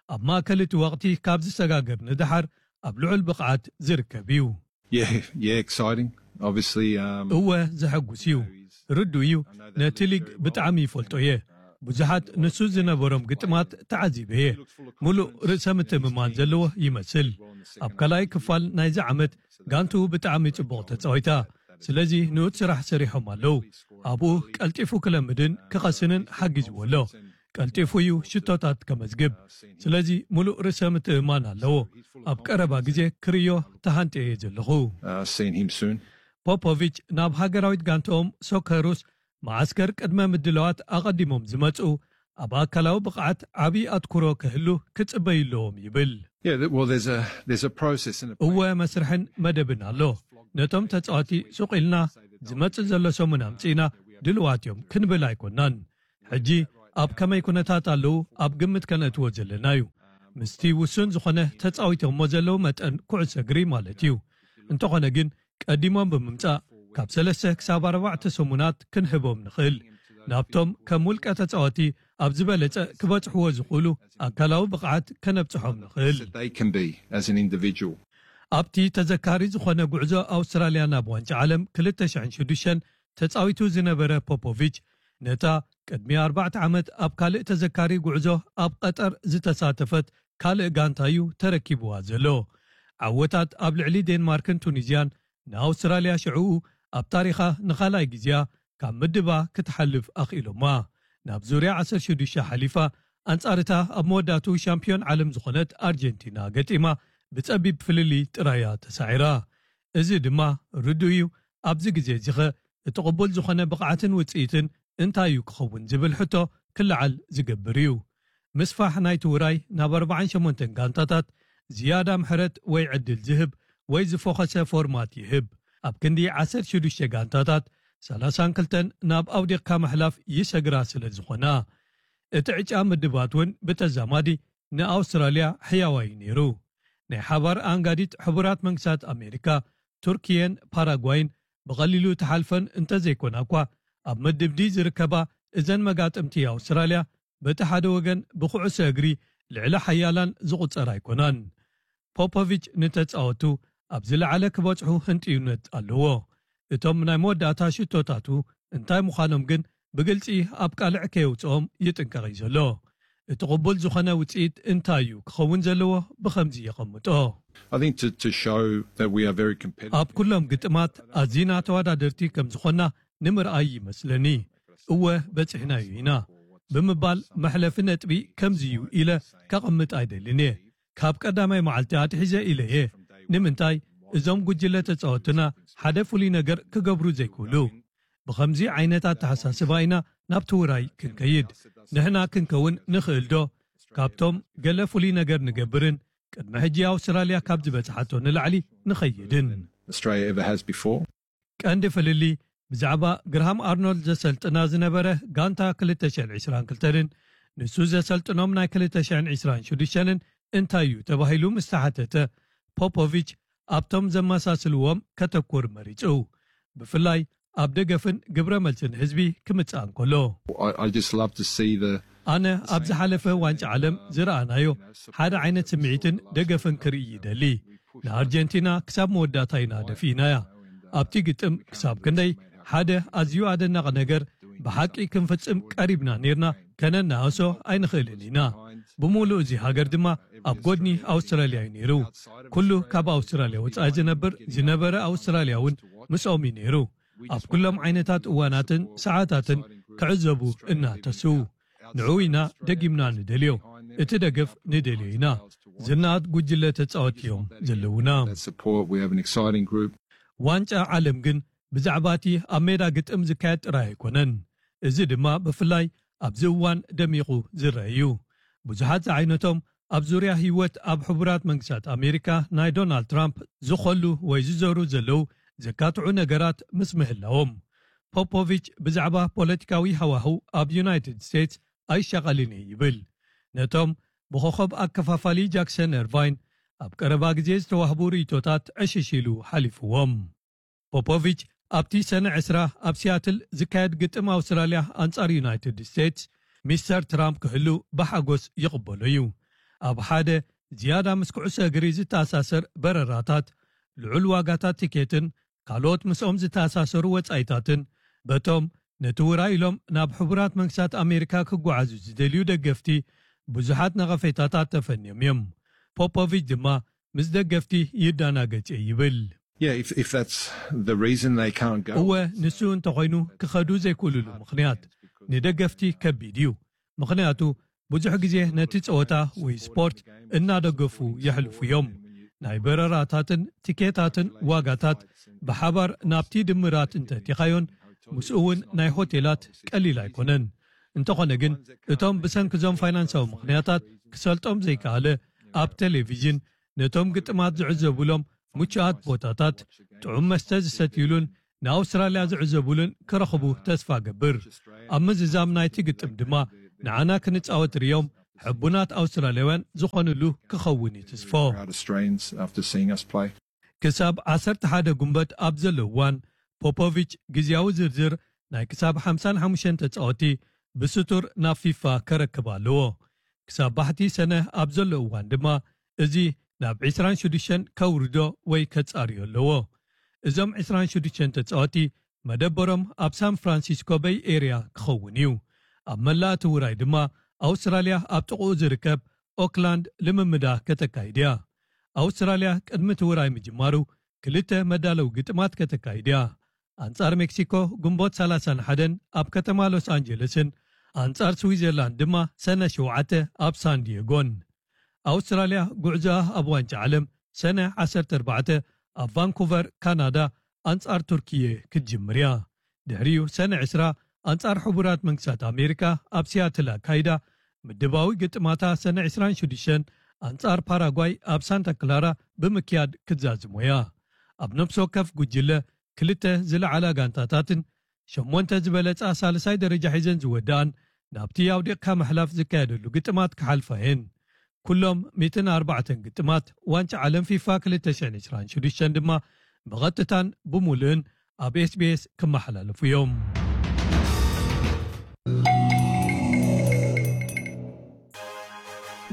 ኣብ ማእከል እቲ ወቕቲ ካብ ዝሰጋገር ንደሓር ኣብ ልዑል ብቕዓት ዝርከብ እዩ። Yeah, yeah, exciting. Obviously, um, እወ፣ ዘሐጉስ እዩ። ርዱ እዩ። ነቲ ሊግ ብጣዕሚ ይፈልጦ እየ። ብዙሓት ንሱ ዝነበሮም ግጥማት ተዓዚበ እየ። ሙሉእ ርእሰ ምትእምማን ዘለዎ ይመስል። ኣብ ካልኣይ ክፋል ናይዚ ዓመት ጋንቱ ብጣዕሚ ጽቡቕ ተጻዊታ። ስለዚ ንኡት ስራሕ ሰሪሖም ኣለዉ። ኣብኡ ቀልጢፉ ክለምድን ክቐስንን ሓጊዝዎ ኣሎ። ቀልጢፉ እዩ ሽቶታት ከመዝግብ። ስለዚ ሙሉእ ርእሰ ምትእምማን ኣለዎ። ኣብ ቀረባ ግዜ ክርእዮ ተሃንጥየ እየ ዘለኹ። Uh, seeing him soon. ፖፖቪች ናብ ሃገራዊት ጋንትኦም ሶከሩስ መዓስከር ቅድመ ምድላዋት ኣቐዲሞም ዝመጹ ኣብ ኣካላዊ ብቕዓት ዓብዪ ኣትኩሮ ክህሉ ክጽበዩ ኣለዎም ይብል። Yeah, th- well, there's a there's a process and a እወ፣ መስርሕን መደብን ኣሎ። ነቶም ተጻዋቲ ሱቕ ኢልና ዝመጽእ ዘሎ ሰሙን ኣምጺእና ድልዋት እዮም ክንብል ኣይኮናን። ሕጂ ኣብ ከመይ ኩነታት ኣለዉ ኣብ ግምት ከነእትዎ ዘለና እዩ። ምስቲ ውሱን ዝኾነ ተጻዊቶሞ ዘለዉ መጠን ኩዕሶ እግሪ ማለት እዩ። እንተኾነ ግን ቀዲሞም ብምምጻእ ካብ ሰለስተ ክሳብ ኣርባዕተ ሰሙናት ክንህቦም ንኽእል። ናብቶም ከም ውልቀ ተጻወቲ ኣብ ዝበለጸ ክበጽሕዎ ዝኽእሉ ኣካላዊ ብቕዓት ከነብጽሖም ንኽእል። that they can be as an individual. ኣብቲ ተዘካሪ ዝኾነ ጉዕዞ ኣውስትራልያ ናብ ዋንጫ ዓለም ክልተ ሽሕን ሽዱሽተን ተጻዊቱ ዝነበረ ፖፖቪች፣ ነታ ቅድሚ ኣርባዕተ ዓመት ኣብ ካልእ ተዘካሪ ጉዕዞ ኣብ ቀጠር ዝተሳተፈት ካልእ ጋንታ እዩ ተረኪብዋ ዘሎ። ዓወታት ኣብ ልዕሊ ዴንማርክን ቱኒዝያን ንኣውስትራልያ ሽዕኡ ኣብ ታሪኻ ንኻልኣይ ግዜያ ካብ ምድባ ክትሓልፍ ኣኽኢሎማ። ናብ ዙርያ ዓሰርተ ሽዱሽተ ሓሊፋ፣ ኣንጻርታ ኣብ መወዳእቱ ሻምፒዮን ዓለም ዝኾነት ኣርጀንቲና ገጢማ ብጸቢብ ፍልልይ ጥራያ ተሳዒራ። እዚ ድማ ርዱእ እዩ። ኣብዚ ግዜ እዚኸ እቲ ቅቡል ዝኾነ ብቕዓትን ውጽኢትን እንታይ እዩ ክኸውን ዝብል ሕቶ ክለዓል ዝገብር እዩ። ምስፋሕ ናይቲ ውራይ ናብ ኣርባዓን ሸሞንተን ጋንታታት ዝያዳ ምሕረት ወይ ዕድል ዝህብ ወይ ዝፎኸሰ ፎርማት ይህብ። ኣብ ክንዲ ዓሰርተ ሽዱሽተ ጋንታታት ሰላሳን ክልተን ናብ ኣውዲቕካ ምሕላፍ ይሰግራ ስለ ዝኾና፣ እቲ ዕጫ ምድባት እውን ብተዛማዲ ንኣውስትራልያ ሕያዋይ ነይሩ። ናይ ሓባር ኣንጋዲት ሕቡራት መንግስታት ኣሜሪካ፣ ቱርኪየን ፓራጓይን ብቐሊሉ ተሓልፈን እንተዘይኮና እኳ፣ ኣብ ምድብ ዲ ዝርከባ እዘን መጋጥምቲ ኣውስትራልያ በቲ ሓደ ወገን ብኩዕሶ እግሪ ልዕሊ ሓያላን ዝቑጸር ኣይኮናን። ፖፖቪች ንተጻወቱ ኣብ ዝለዓለ ክበጽሑ ህንጥዩነት ኣለዎ። እቶም ናይ መወዳእታ ሽቶታቱ እንታይ ምዃኖም ግን ብግልጺ ኣብ ቃልዕ ከየውጽኦም ይጥንቀቕ እዩ ዘሎ። እቲ ቅቡል ዝኾነ ውጽኢት እንታይ እዩ ክኸውን ዘለዎ ብኸምዚ የቐምጦ። I think to, to show that we are very competitive. ኣብ ኩሎም ግጥማት ኣዚና ተወዳደርቲ ከም ዝኾና ንምርኣይ ይመስለኒ። እወ በጺሕናዮ ኢና ብምባል መሕለፊ ነጥቢ ከምዚ እዩ ኢለ ከቐምጥ ኣይደልን እየ። ካብ ቀዳማይ መዓልቲ ኣትሒዘ ኢለ እየ። ንምንታይ እዞም ጉጅለ ተጻወትና ሓደ ፍሉይ ነገር ክገብሩ ዘይክእሉ? ብኸምዚ ዓይነት ኣተሓሳስባ ኢና ናብቲ ውራይ ክንከይድ። ንሕና ክንከውን ንኽእል ዶ ካብቶም ገለ ፍሉይ ነገር ንገብርን ቅድሚ ሕጂ ኣውስትራልያ ካብ ዝበጽሓቶ ንላዕሊ ንኸይድን? Australia ever has before. ቀንዲ ፍልልይ ብዛዕባ ግርሃም ኣርኖልድ ዘሰልጥና ዝነበረ ጋንታ ክልተ ሽሕን ዕስራን ክልተን ንሱ ዘሰልጥኖም ናይ ክልተ ሽሕን ዕስራን ሽዱሽተን እንታይ እዩ ተባሂሉ ምስ ተሓተተ፣ ፖፖቪች ኣብቶም ዘመሳስልዎም ከተኩር መሪጹ፣ ብፍላይ ኣብ ደገፍን ግብረ መልስን ህዝቢ ክምጽእ እንከሎ። I, I just love to see the ኣነ ኣብ ዝሓለፈ ዋንጫ ዓለም ዝረኣናዮ ሓደ ዓይነት ስምዒትን ደገፍን ክርኢ ይደሊ። ንኣርጀንቲና ክሳብ መወዳእታ ኢና ደፊእናያ። ኣብቲ ግጥም ክሳብ ክንደይ ሓደ ኣዝዩ ኣደናቂ ነገር ብሓቂ ክንፍጽም ቀሪብና ኔርና ከነናእሶ ኣይንኽእልን ኢና። ብምሉእ እዚ ሃገር ድማ ኣብ ጎድኒ ኣውስትራልያ እዩ ነይሩ። ኩሉ ካብ ኣውስትራልያ ወጻኢ ዝነብር ዝነበረ ኣውስትራልያ እውን ምስኦም እዩ ነይሩ። ኣብ ኩሎም ዓይነታት እዋናትን ሰዓታትን ክዕዘቡ እናተስዉ። ንዕኡ ኢና ደጊምና ንደልዮ። እቲ ደገፍ ንደልዮ ኢና። ዝናኣት ጉጅለ ተጻወቲ እዮም ዘለውና። That support. We have an exciting group. ዋንጫ ዓለም ግን ብዛዕባ እቲ ኣብ ሜዳ ግጥም ዝካየድ ጥራይ ኣይኮነን። እዚ ድማ ብፍላይ ኣብዚ እዋን ደሚቑ ዝረአ እዩ። ብዙሓት ዝዓይነቶም ኣብ ዙርያ ህይወት ኣብ ሕቡራት መንግስታት ኣሜሪካ ናይ ዶናልድ ትራምፕ ዝኾሉ ወይ ዝዘሩ ዘለዉ ዘካትዑ ነገራት ምስ ምህላዎም፣ ፖፖቪች ብዛዕባ ፖለቲካዊ ሃዋህው ኣብ ዩናይትድ ስቴትስ ኣይሻቐልን እየ ይብል። ነቶም ብኾኸብ ኣከፋፋሊ ጃክሰን ኤርቫይን ኣብ ቀረባ ግዜ ዝተዋህቡ ርእይቶታት ዕሽሽ ኢሉ ሓሊፍዎም። ፖፖቪች ኣብቲ ሰነ ዕስራ ኣብ ሲያትል ዝካየድ ግጥም ኣውስትራልያ ኣንጻር ዩናይትድ ስቴትስ፣ ሚስተር ትራምፕ ክህሉ ብሓጎስ ይቕበሎ እዩ። ኣብ ሓደ ዝያዳ ምስ ኩዕሶ እግሪ ዝተኣሳሰር በረራታት፣ ልዑል ዋጋታት ቲኬትን ካልኦት ምስኦም ዝተኣሳሰሩ ወጻኢታትን፣ በቶም ነቲ ውራይ ኢሎም ናብ ሕቡራት መንግስታት ኣሜሪካ ክጓዓዙ ዝደልዩ ደገፍቲ ብዙሓት ነቐፌታታት ተፈንዮም እዮም። ፖፖቪች ድማ ምስ ደገፍቲ ይዳናገጽ እየ ይብል። Yeah, if, if that's the reason they can't go. እወ፣ ንሱ እንተኾይኑ ክኸዱ ዘይክእሉሉ ምኽንያት ንደገፍቲ ከቢድ እዩ። ምኽንያቱ ብዙሕ ግዜ ነቲ ጸወታ ወይ ስፖርት እናደገፉ የሕልፉ እዮም። ናይ በረራታትን ቲኬታትን ዋጋታት ብሓባር ናብቲ ድምራት እንተቲኻዮን ምስኡ እውን ናይ ሆቴላት ቀሊል ኣይኮነን። እንተኾነ ግን እቶም ብሰንኪ ዞም ፋይናንሳዊ ምኽንያታት ክሰልጦም ዘይከኣለ ኣብ ቴሌቪዥን ነቶም ግጥማት ዝዕዘቡሎም ምቹኣት ቦታታት፣ ጥዑም መስተ ዝሰትዩሉን ንኣውስትራልያ ዝዕዘቡሉን ክረኽቡ ተስፋ ገብር። ኣብ ምዝዛም ናይቲ ግጥም ድማ ንዓና ክንጻወት ርእዮም ሕቡናት ኣውስትራልያውያን ዝኾኑሉ ክኸውን እዩ ትስፎ። Proud Australians after seeing us play. ክሳብ ዓሰርተ ሓደ ጉንበት ኣብ ዘሎ እዋን ፖፖቪች ግዜያዊ ዝርዝር ናይ ክሳብ ሓምሳን ሓሙሽተን ተጻወቲ ብስቱር ናብ ፊፋ ከረክብ ኣለዎ። ክሳብ ባሕቲ ሰነ ኣብ ዘሎ እዋን ድማ እዚ ናብ ዕስራን ሽዱሽተን ከውርዶ ወይ ከጻርዮ ኣለዎ። እዞም ዕስራን ሽዱሽተን ተጻወቲ መደበሮም ኣብ ሳን ፍራንሲስኮ በይ ኤርያ ክኸውን እዩ። ኣብ መላእ እቲ ውራይ ድማ ኣውስትራልያ ኣብ ጥቕኡ ዝርከብ ኦክላንድ ልምምዳ ከተካይድ እያ። ኣውስትራልያ ቅድሚ እቲ ውራይ ምጅማሩ ክልተ መዳለዊ ግጥማት ከተካይድ እያ። ኣንጻር ሜክሲኮ ግንቦት ሰላሳን ሓደን ኣብ ከተማ ሎስ ኣንጀለስን ኣንጻር ስዊዘርላንድ ድማ ሰነ ሸውዓተ ኣብ ሳን ዲየጎን። ኣውስትራልያ ጉዕዞኣ ኣብ ዋንጫ ዓለም ሰነ ዓሰርተ ኣርባዕተ ኣብ ቫንኩቨር ካናዳ ኣንጻር ቱርኪየ ክትጅምር እያ። ድሕሪኡ ሰነ ዕስራ ኣንጻር ሕቡራት መንግስታት ኣሜሪካ ኣብ ሲያትል ኣካይዳ። ምድባዊ ግጥማታ ሰነ ዕስራን ሽዱሽተን ኣንጻር ፓራጓይ ኣብ ሳንታ ክላራ ብምክያድ ክትዛዝሞ እያ። ኣብ ነፍሲ ወከፍ ጉጅለ ክልተ ዝለዓላ ጋንታታትን ሸሞንተ ዝበለጻ ሳልሳይ ደረጃ ሒዘን ዝወድኣን ናብቲ ኣውዲቕካ ምሕላፍ ዝካየደሉ ግጥማት ክሓልፋ እየን። ኩሎም ሚእትን ኣርባዕተን ግጥማት ዋንጫ ዓለም ፊፋ ክልተ ሽሕን ዕስራን ሽዱሽተን ድማ ብቐጥታን ብምሉእን ኣብ ኤስቢኤስ ክመሓላለፉ እዮም።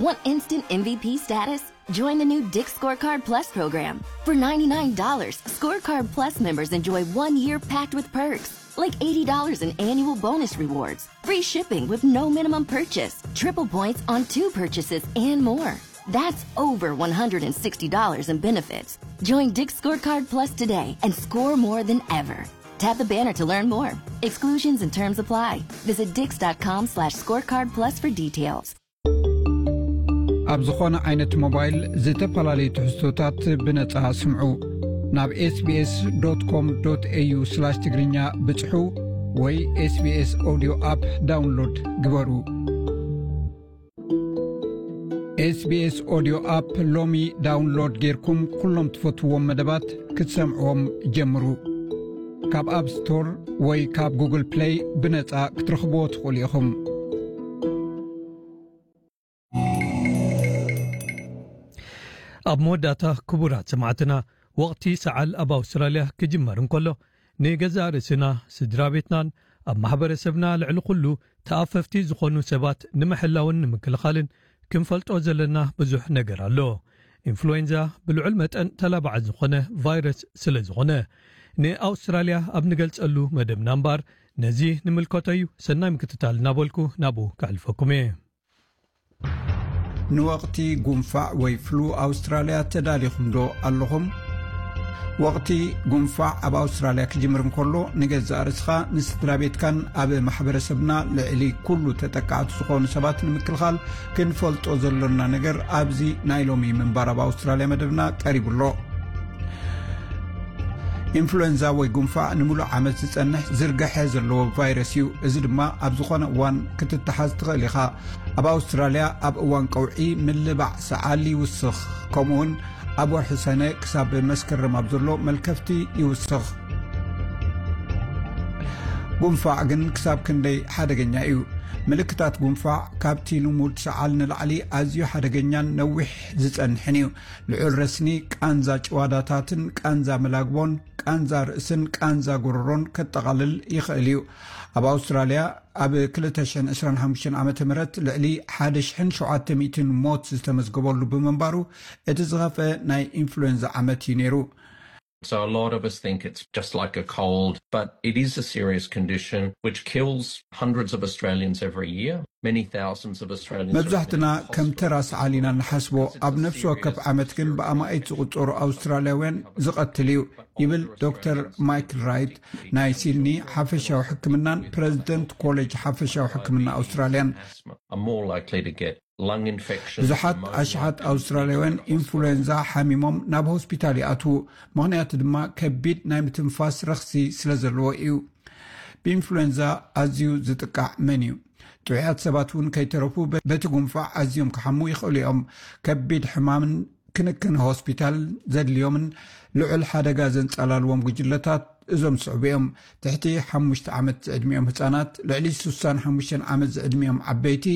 Want instant M V P status? Join the new Dick's Scorecard Plus program. For ninety-nine dollars, Scorecard Plus members enjoy one year packed with perks, like eighty dollars in annual bonus rewards, free shipping with no minimum purchase, triple points on two purchases, and more. That's over one hundred sixty dollars in benefits. Join Dick's Scorecard Plus today and score more than ever. Tap the banner to learn more. Exclusions and terms apply. Visit dix dot com slash scorecard plus for details. ኣብ ዝኾነ ዓይነት ሞባይል ዝተፈላለዩ ትሕዝቶታት ብነጻ ስምዑ። ናብ ኤስቢኤስ ዶት ኮም ዶት ኤዩ ስላሽ ትግርኛ ብጽሑ ወይ ኤስቢኤስ ኦዲዮ ኣፕ ዳውንሎድ ግበሩ። ኤስቢኤስ ኦዲዮ ኣፕ ሎሚ ዳውንሎድ ጌርኩም ኩሎም ትፈትዎም መደባት ክትሰምዕዎም ጀምሩ። ካብ ኣፕ ስቶር ወይ ካብ ጉግል ፕለይ ብነጻ ክትረኽብዎ ትኽእሉ ኢኹም። ኣብ መወዳእታ፣ ክቡራት ሰማዕትና፣ ወቕቲ ሰዓል ኣብ ኣውስትራልያ ክጅመር እንከሎ፣ ንገዛእ ርእስና፣ ስድራ ቤትናን ኣብ ማሕበረሰብና ልዕሊ ኩሉ ተኣፈፍቲ ዝኾኑ ሰባት ንምሕላውን ንምክልኻልን ክንፈልጦ ዘለና ብዙሕ ነገር ኣሎ። ኢንፍሉዌንዛ ብልዑል መጠን ተላባዒ ዝኾነ ቫይረስ ስለ ዝኾነ፣ ንኣውስትራልያ ኣብ ንገልጸሉ መደብና እምበኣር፣ ነዚ ንምልከቶ እዩ። ሰናይ ምክትታል እናበልኩ ናብኡ ከሕልፈኩም እየ። ንወቕቲ ጉንፋዕ ወይ ፍሉ ኣውስትራልያ ተዳሊኹም ዶ ኣለኹም? ወቕቲ ጉንፋዕ ኣብ ኣውስትራልያ ክጅምር እንከሎ፣ ንገዛእ ርእስኻ፣ ንስድራ ቤትካን ኣብ ማሕበረሰብና ልዕሊ ኩሉ ተጠቃዕቲ ዝኾኑ ሰባት ንምክልኻል ክንፈልጦ ዘሎና ነገር ኣብዚ ናይ ሎሚ ምንባር ኣብ ኣውስትራልያ መደብና ቀሪቡ ኣሎ። ኢንፍሉዌንዛ ወይ ጉንፋዕ ንምሉእ ዓመት ዝጸንሕ ዝርግሐ ዘለዎ ቫይረስ እዩ። እዚ ድማ ኣብ ዝኾነ እዋን ክትተሓዝ ትኽእል ኢኻ። ኣብ ኣውስትራልያ ኣብ እዋን ቀውዒ ምልባዕ ሰዓል ይውስኽ፣ ከምኡውን ኣብ ወርሒ ሰነ ክሳብ መስከረም ኣብ ዘሎ መልከፍቲ ይውስኽ። ጉንፋዕ ግን ክሳብ ክንደይ ሓደገኛ እዩ? ምልክታት ጉንፋዕ ካብቲ ልሙድ ሰዓል ንላዕሊ ኣዝዩ ሓደገኛን ነዊሕ ዝጸንሕን እዩ። ልዑል ረስኒ፣ ቃንዛ ጭዋዳታትን ቃንዛ መላግቦን፣ ቃንዛ ርእስን ቃንዛ ጎረሮን ከጠቓልል ይኽእል እዩ። ኣብ ኣውስትራልያ ኣብ ክልተ ሽሕን ዕስራን ሓሙሽተን ዓመተ ምህረት ልዕሊ ሓደ ሽሕን ሸውዓተ ሚእትን ሞት ዝተመዝገበሉ ብምንባሩ፣ እቲ ዝኸፍአ ናይ ኢንፍሉዌንዛ ዓመት እዩ ነይሩ። So a lot of us think it's just like a cold, but it is a serious condition which kills hundreds of Australians every year. Many thousands of Australians are መብዛሕትና admitted to ከም ተራ hospital ሰዓል ኢና ንሓስቦ። because it's ኣብ a ነፍሲ ወከፍ serious ዓመት ግን respiratory ብኣማኢት ዝቑጸሩ ኣውስትራልያውያን ዝቐትል እዩ፣ ይብል ዶክተር ማይክል ራይት፣ ናይ ሲድኒ ሓፈሻዊ ሕክምናን ፕረዚደንት ኮሌጅ ሓፈሻዊ ሕክምና ኣውስትራልያን። Are more likely to get lung infections, ብዙሓት pneumonia, ኣሽሓት and ኣውስትራልያውያን ኢንፍሉዌንዛ ሓሚሞም ናብ ሆስፒታል ይኣትዉ። ምኽንያቱ ድማ ከቢድ ናይ ምትንፋስ ረኽሲ ስለ ዘለዎ እዩ። ብኢንፍሉዌንዛ ኣዝዩ ዝጥቃዕ መን እዩ? ጥዑያት ሰባት እውን ከይተረፉ በ-፣ በቲ ጉንፋዕ ኣዝዮም ክሓሙ ይኽእሉ እዮም። ከቢድ ሕማምን ክንክን ሆስፒታል ዘድልዮምን ልዑል ሓደጋ ዘንጸላልዎም ጉጅለታት እዞም ዝስዕቡ እዮም። ትሕቲ ሓሙሽተ ዓመት ዝዕድሚኦም ህጻናት፣ ልዕሊ ስሳን ሓሙሽተን ዓመት ዝዕድሚኦም ዓበይቲ፣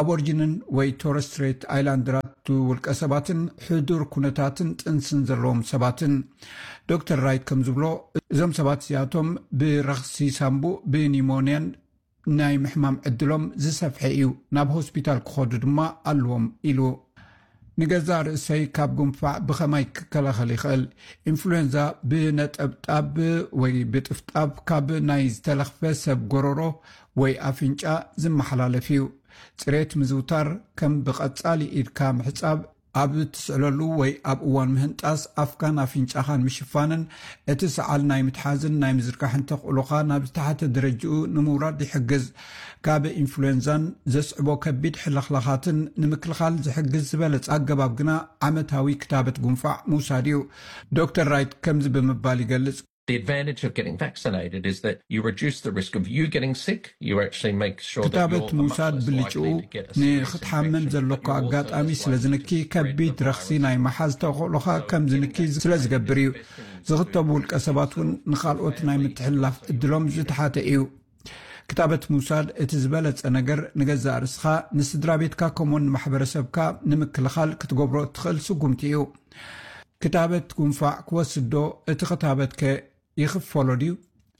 ኣቦርጅንን ወይ ቶረስ ስትሬት ኣይላንደራት ውልቀ ሰባትን ሕዱር ኩነታትን ጥንስን ዘለዎም ሰባትን። ዶክተር ራይት ከም ዝብሎ፣ እዞም ሰባት እዚኣቶም ብረኽሲ ሳምቡእ፣ ብኒሞንያን ናይ ምሕማም ዕድሎም ዝሰፍሐ እዩ፣ ናብ ሆስፒታል ክኸዱ ድማ ኣለዎም ኢሉ። ንገዛእ ርእሰይ ካብ ጉንፋዕ ብኸማይ ክከላኸል ይኽእል? ኢንፍሉዌንዛ ብነጠብጣብ ወይ ብጥፍጣብ ካብ ናይ ዝተለኽፈ ሰብ ጎረሮ ወይ ኣፍንጫ ዝመሓላለፍ እዩ። ጽሬት ምዝውታር፣ ከም ብቐጻሊ ኢድካ ምሕጻብ፣ ኣብ እትስዕለሉ ወይ ኣብ እዋን ምህንጣስ ኣፍካን ኣፍንጫኻን ምሽፋንን፣ እቲ ሰዓል ናይ ምትሓዝን ናይ ምዝርጋሕን ተኽእሎኻ ናብ ዝተሓተ ደረጃኡ ንምውራድ ይሕግዝ። ካብ ኢንፍሉዌንዛን ዘስዕቦ ከቢድ ሕልኽላኻትን ንምክልኻል ዝሕግዝ ዝበለጸ ኣገባብ ግና ዓመታዊ ክታበት ጉንፋዕ ምውሳድ እዩ። ዶክተር ራይት ከምዚ ብምባል ይገልጽ። The advantage of getting vaccinated is that you reduce the risk of you getting sick. You actually make sure that ክታበት you're much ምውሳድ less ብልጭኡ likely to get a serious ንክትሓመም infection, ዘለካ but you also ኣጋጣሚ slightly ስለ ዝንኪ፣ restrict ከቢድ the ረኽሲ virus. ናይ መሓዝ ተኽእሎኻ ከም ዝንኪ ስለ ዝገብር እዩ። ዝኽተቡ ውልቀ ሰባት እውን ንኻልኦት ናይ ምትሕልላፍ እድሎም ዝተሓተ እዩ። ክታበት ምውሳድ እቲ ዝበለጸ ነገር ንገዛእ ርእስኻ፣ ንስድራ ቤትካ፣ ከምኡውን ንማሕበረሰብካ ንምክልኻል ክትገብሮ እትኽእል ስጉምቲ እዩ። ክታበት ጉንፋዕ ክወስድ ዶ? እቲ ክታበትከ ይኽፈሎ ድዩ?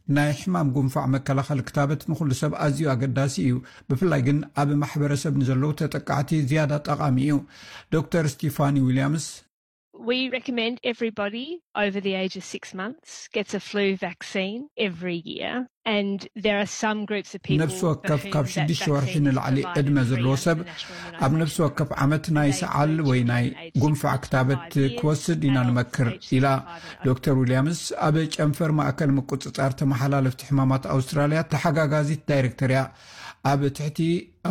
ናይ ሕማም ጉንፋዕ መከላኸሊ ክታበት ንኹሉ ሰብ ኣዝዩ ኣገዳሲ እዩ፣ ብፍላይ ግን ኣብ ማሕበረሰብ ንዘለዉ ተጠቃዕቲ ዝያዳ ጠቓሚ እዩ። ዶክተር ስቲፋኒ ዊልያምስ፣ We recommend everybody over the age of six months gets a flu vaccine every year. And there are some groups of people ነፍሲ ወከፍ ካብ ሽዱሽተ ወርሒ ንላዕሊ ዕድመ ዘለዎ ሰብ ኣብ ነፍሲ ወከፍ ዓመት ናይ ሰዓል ወይ ናይ ጉንፋዕ ክታበት ክወስድ ኢና ንመክር፣ ኢላ ዶክተር ዊልያምስ ኣብ ጨንፈር ማእከል ምቁጽጻር ተመሓላለፍቲ ሕማማት ኣውስትራልያ ተሓጋጋዚት ዳይሬክተር እያ። ኣብ ትሕቲ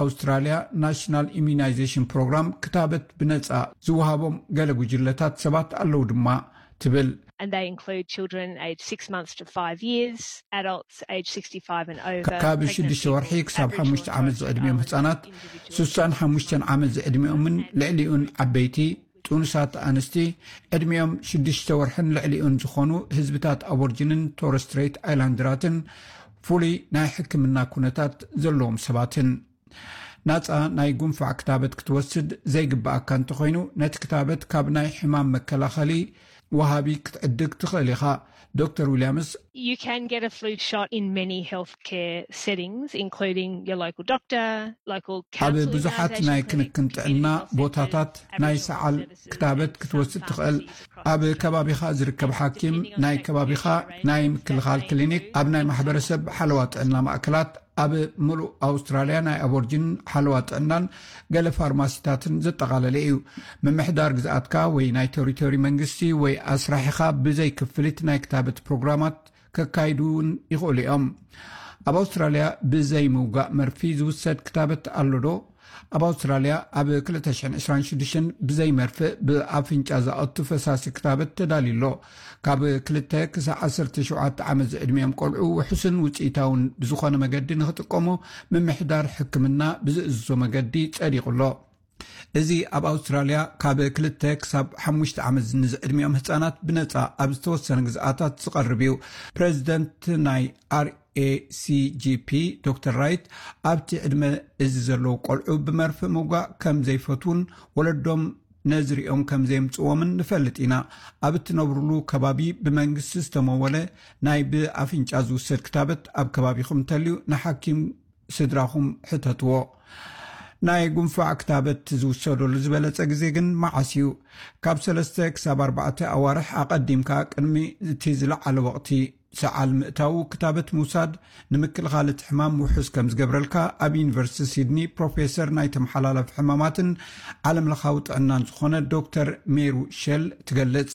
ኣውስትራልያ ናሽናል ኢሚዩናይዜሽን ፕሮግራም ክታበት ብነጻ ዝወሃቦም ገለ ጉጅለታት ሰባት ኣለዉ ድማ ትብል። And they include children aged six months to five years, adults aged sixty-five and over, ካብ ሽዱሽተ ወርሒ ክሳብ ሓሙሽተ ዓመት ዝዕድሚኦም ህጻናት፣ ስሳን ሓሙሽተን ዓመት ዝዕድሚኦምን ልዕሊኡን ዓበይቲ፣ ጥኑሳት ኣንስቲ፣ ዕድሚኦም ሽዱሽተ ወርሕን ልዕሊኡን ዝኾኑ ህዝብታት ኣቦርጅንን ቶረስ ስትሬት ኣይላንደራትን፣ ፍሉይ ናይ ሕክምና ኩነታት ዘለዎም ሰባትን። ናጻ ናይ ጉንፋዕ ክታበት ክትወስድ ዘይግብኣካ እንተኾይኑ፣ ነቲ ክታበት ካብ ናይ ሕማም መከላኸሊ ወሃቢ ክትዕድግ ትኽእል ኢኻ። ዶክተር ዊልያምስ፣ You can get a flu shot in many healthcare settings, including your local doctor, local ኣብ ብዙሓት ናይ ክንክን ጥዕና ቦታታት ናይ ሰዓል ክታበት ክትወስድ ትኽእል። ኣብ ከባቢኻ ዝርከብ ሓኪም፣ ናይ ከባቢኻ ናይ ምክልኻል ክሊኒክ፣ ኣብ ናይ ማሕበረሰብ ሓለዋ ጥዕና ማእከላት፣ ኣብ ምሉእ ኣውስትራልያ ናይ ኣቦርጅን ሓለዋ ጥዕናን ገለ ፋርማሲታትን ዘጠቓለለ እዩ። ምምሕዳር ግዝኣትካ ወይ ናይ ቴሪቶሪ መንግስቲ ወይ ኣስራሒኻ ብዘይ ክፍሊት ናይ ክታበት ፕሮግራማት ከካይዱ እውን ይኽእሉ እዮም። ኣብ ኣውስትራልያ ብዘይ ምውጋእ መርፊ ዝውሰድ ክታበት ኣሎ ዶ? ኣብ ኣውስትራልያ ኣብ ክልተ ሽሕን ዕስራን ሽዱሽተን ብዘይ መርፍእ ብኣፍንጫ ዝኣቱ ፈሳሲ ክታበት ተዳልዩ ኣሎ። ካብ ክልተ ክሳብ ዓሰርተ ሸውዓተ ዓመት ዝዕድሚኦም ቆልዑ ውሑስን ውፅኢታውን ብዝኾነ መገዲ ንኽጥቀሙ ምምሕዳር ሕክምና ብዝእዝዞ መገዲ ጸዲቑ ኣሎ። እዚ ኣብ ኣውስትራልያ ካብ ክልተ ክሳብ ሓሙሽተ ዓመት ንዝዕድሚኦም ህጻናት ብነጻ ኣብ ዝተወሰነ ግዝኣታት ዝቐርብ እዩ። ፕሬዚደንት ናይ RACGP ዶክተር ራይት፣ ኣብቲ ዕድመ እዚ ዘለዉ ቆልዑ ብመርፍእ ምውጋእ ከም ዘይፈትዉን ወለዶም ነዚ ሪኦም ከም ዘየምጽእዎምን ንፈልጥ ኢና። ኣብ እትነብሩሉ ከባቢ ብመንግስቲ ዝተመወለ ናይ ብኣፍንጫ ዝውሰድ ክታበት ኣብ ከባቢኹም እንተልዩ ንሓኪም ስድራኹም ሕተትዎ። ናይ ጉንፋዕ ክታበት ዝውሰደሉ ዝበለጸ ግዜ ግን መዓስ እዩ? ካብ ሰለስተ ክሳብ ኣርባዕተ ኣዋርሕ ኣቐዲምካ ቅድሚ እቲ ዝለዓለ ወቕቲ ሰዓል ምእታዉ ክታበት ምውሳድ ንምክልኻል እቲ ሕማም ውሑስ ከም ዝገብረልካ ኣብ ዩኒቨርሲቲ ሲድኒ ፕሮፌሰር ናይ ተመሓላላፊ ሕማማትን ዓለም ለኻዊ ጥዕናን ዝኾነ ዶክተር ሜሩ ሼል ትገልጽ።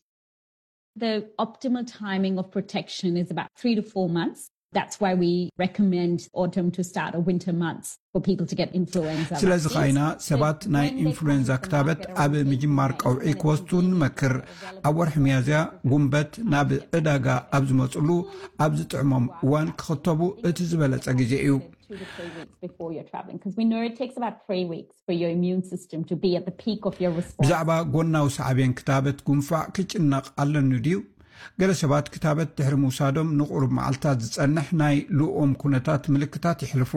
The optimal timing of protection is about three to four months. That's why we recommend autumn to start or winter months for people to get influenza. ስለዚ ኻይና ሰባት ናይ ኢንፍሉዌንዛ ክታበት ኣብ ምጅማር ቀውዒ ክወስዱ ንመክር። ኣብ ወርሒ ሚያዝያ ጉንበት ናብ ዕዳጋ ኣብ ዝመፅሉ ኣብ ዝጥዕሞም እዋን ክኽተቡ እቲ ዝበለፀ ግዜ እዩ። Two to three weeks before you're traveling, because we know it takes about three weeks for your immune system to be at the peak of your response. ብዛዕባ ጎናዊ ሳዕቤን ክታበት ጉንፋዕ ክጭነቕ ኣለኒ ድዩ? ገለ ሰባት ክታበት ድሕሪ ምውሳዶም ንቑሩብ መዓልታት ዝጸንሕ ናይ ልኡም ኩነታት ምልክታት የሕልፉ።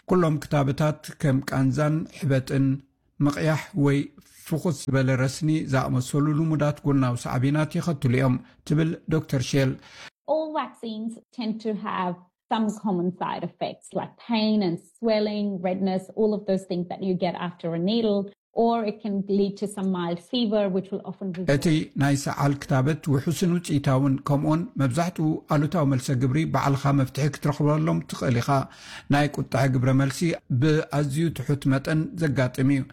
ኩሎም ክታበታት ከም ቃንዛን ሕበጥን፣ ምቕያሕ ወይ ፍኹስ ዝበለ ረስኒ ዝኣመሰሉ ልሙዳት ጎናዊ ሳዕቤናት የኸትሉ እዮም ትብል ዶክተር ሼል። All vaccines tend to have some common side effects like pain and swelling, redness, all of those things that you get after a needle, or it can lead to some mild fever, which will often result. እቲ ናይ ሰዓል ክታበት ውሑስን ውፅኢታውን ከምኡውን መብዛሕትኡ ኣሉታዊ መልሰ ግብሪ ባዕልኻ መፍትሒ ክትረኽበሎም ትኽእል ኢኻ። ናይ ቁጥዐ ግብረ መልሲ ብኣዝዩ ትሑት መጠን ዘጋጥም እዩ።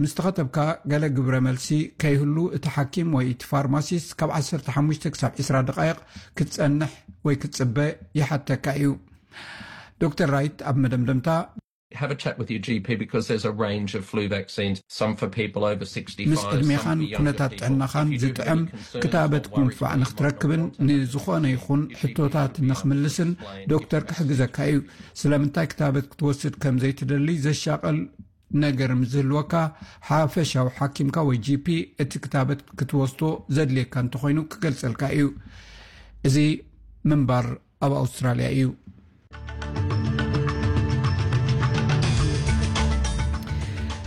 ምስ ተኸተብካ ገለ ግብረ መልሲ ከይህሉ እቲ ሓኪም ወይ እቲ ፋርማሲስት ካብ ዓሰርተ ሓሙሽተ ክሳብ ዕስራ ደቃይቕ ክትጸንሕ ወይ ክትጽበ ይሓተካ እዩ። ዶክተር ራይት ኣብ መደምደምታ Have a chat with your G P because there's a range of flu vaccines, some for people over sixty-five, ምስ ዕድሜኻን ኩነታት ጥዕናኻን ዝጥዕም ክታበት ጉንፋዕ ንክትረክብን ንዝኾነ ይኹን ሕቶታት ንክምልስን ዶክተር ክሕግዘካ እዩ። ስለምንታይ ክታበት ክትወስድ ከም ዘይትደሊ ዘሻቐል ነገር ምስ ዝህልወካ፣ ሓፈሻዊ ሓኪምካ ወይ ጂ ፒ እቲ ክታበት ክትወስዶ ዘድልየካ እንተኾይኑ ክገልጸልካ እዩ። እዚ ምንባር ኣብ ኣውስትራልያ እዩ።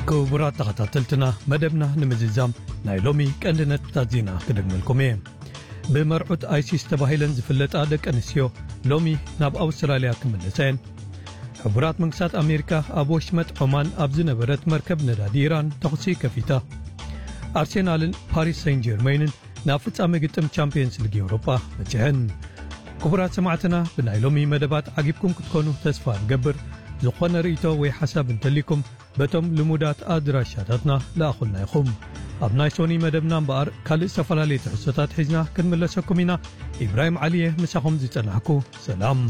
ክቡራት ተኸታተልትና፣ መደብና ንምዝዛም ናይ ሎሚ ቀንዲ ነጥብታት ዜና ክደግመልኩም እየ። ብመርዑት ኣይሲስ ተባሂለን ዝፍለጣ ደቂ ኣንስትዮ ሎሚ ናብ ኣውስትራልያ ክምለሳ እየን። ሕቡራት መንግስታት ኣሜሪካ ኣብ ወሽመጥ ዖማን ኣብ ዝነበረት መርከብ ነዳዲ ኢራን ተኹሲ ከፊታ። ኣርሴናልን ፓሪስ ሰን ጀርመይንን ናብ ፍጻመ ግጥም ቻምፒየንስ ሊግ ኤውሮጳ በጺሐን። ክቡራት ሰማዕትና፣ ብናይ ሎሚ መደባት ዓጊብኩም ክትኮኑ ተስፋ ንገብር። ዝኾነ ርእይቶ ወይ ሓሳብ እንተሊኩም በቶም ልሙዳት ኣድራሻታትና ለኣኹልና ኢኹም። ኣብ ናይ ሶኒ መደብና እምበኣር ካልእ ዝተፈላለዩ ትሕዝቶታት ሒዝና ክንምለሰኩም ኢና። ኢብራሂም ዓሊየ ምሳኹም ዝጸናሕኩ። ሰላም።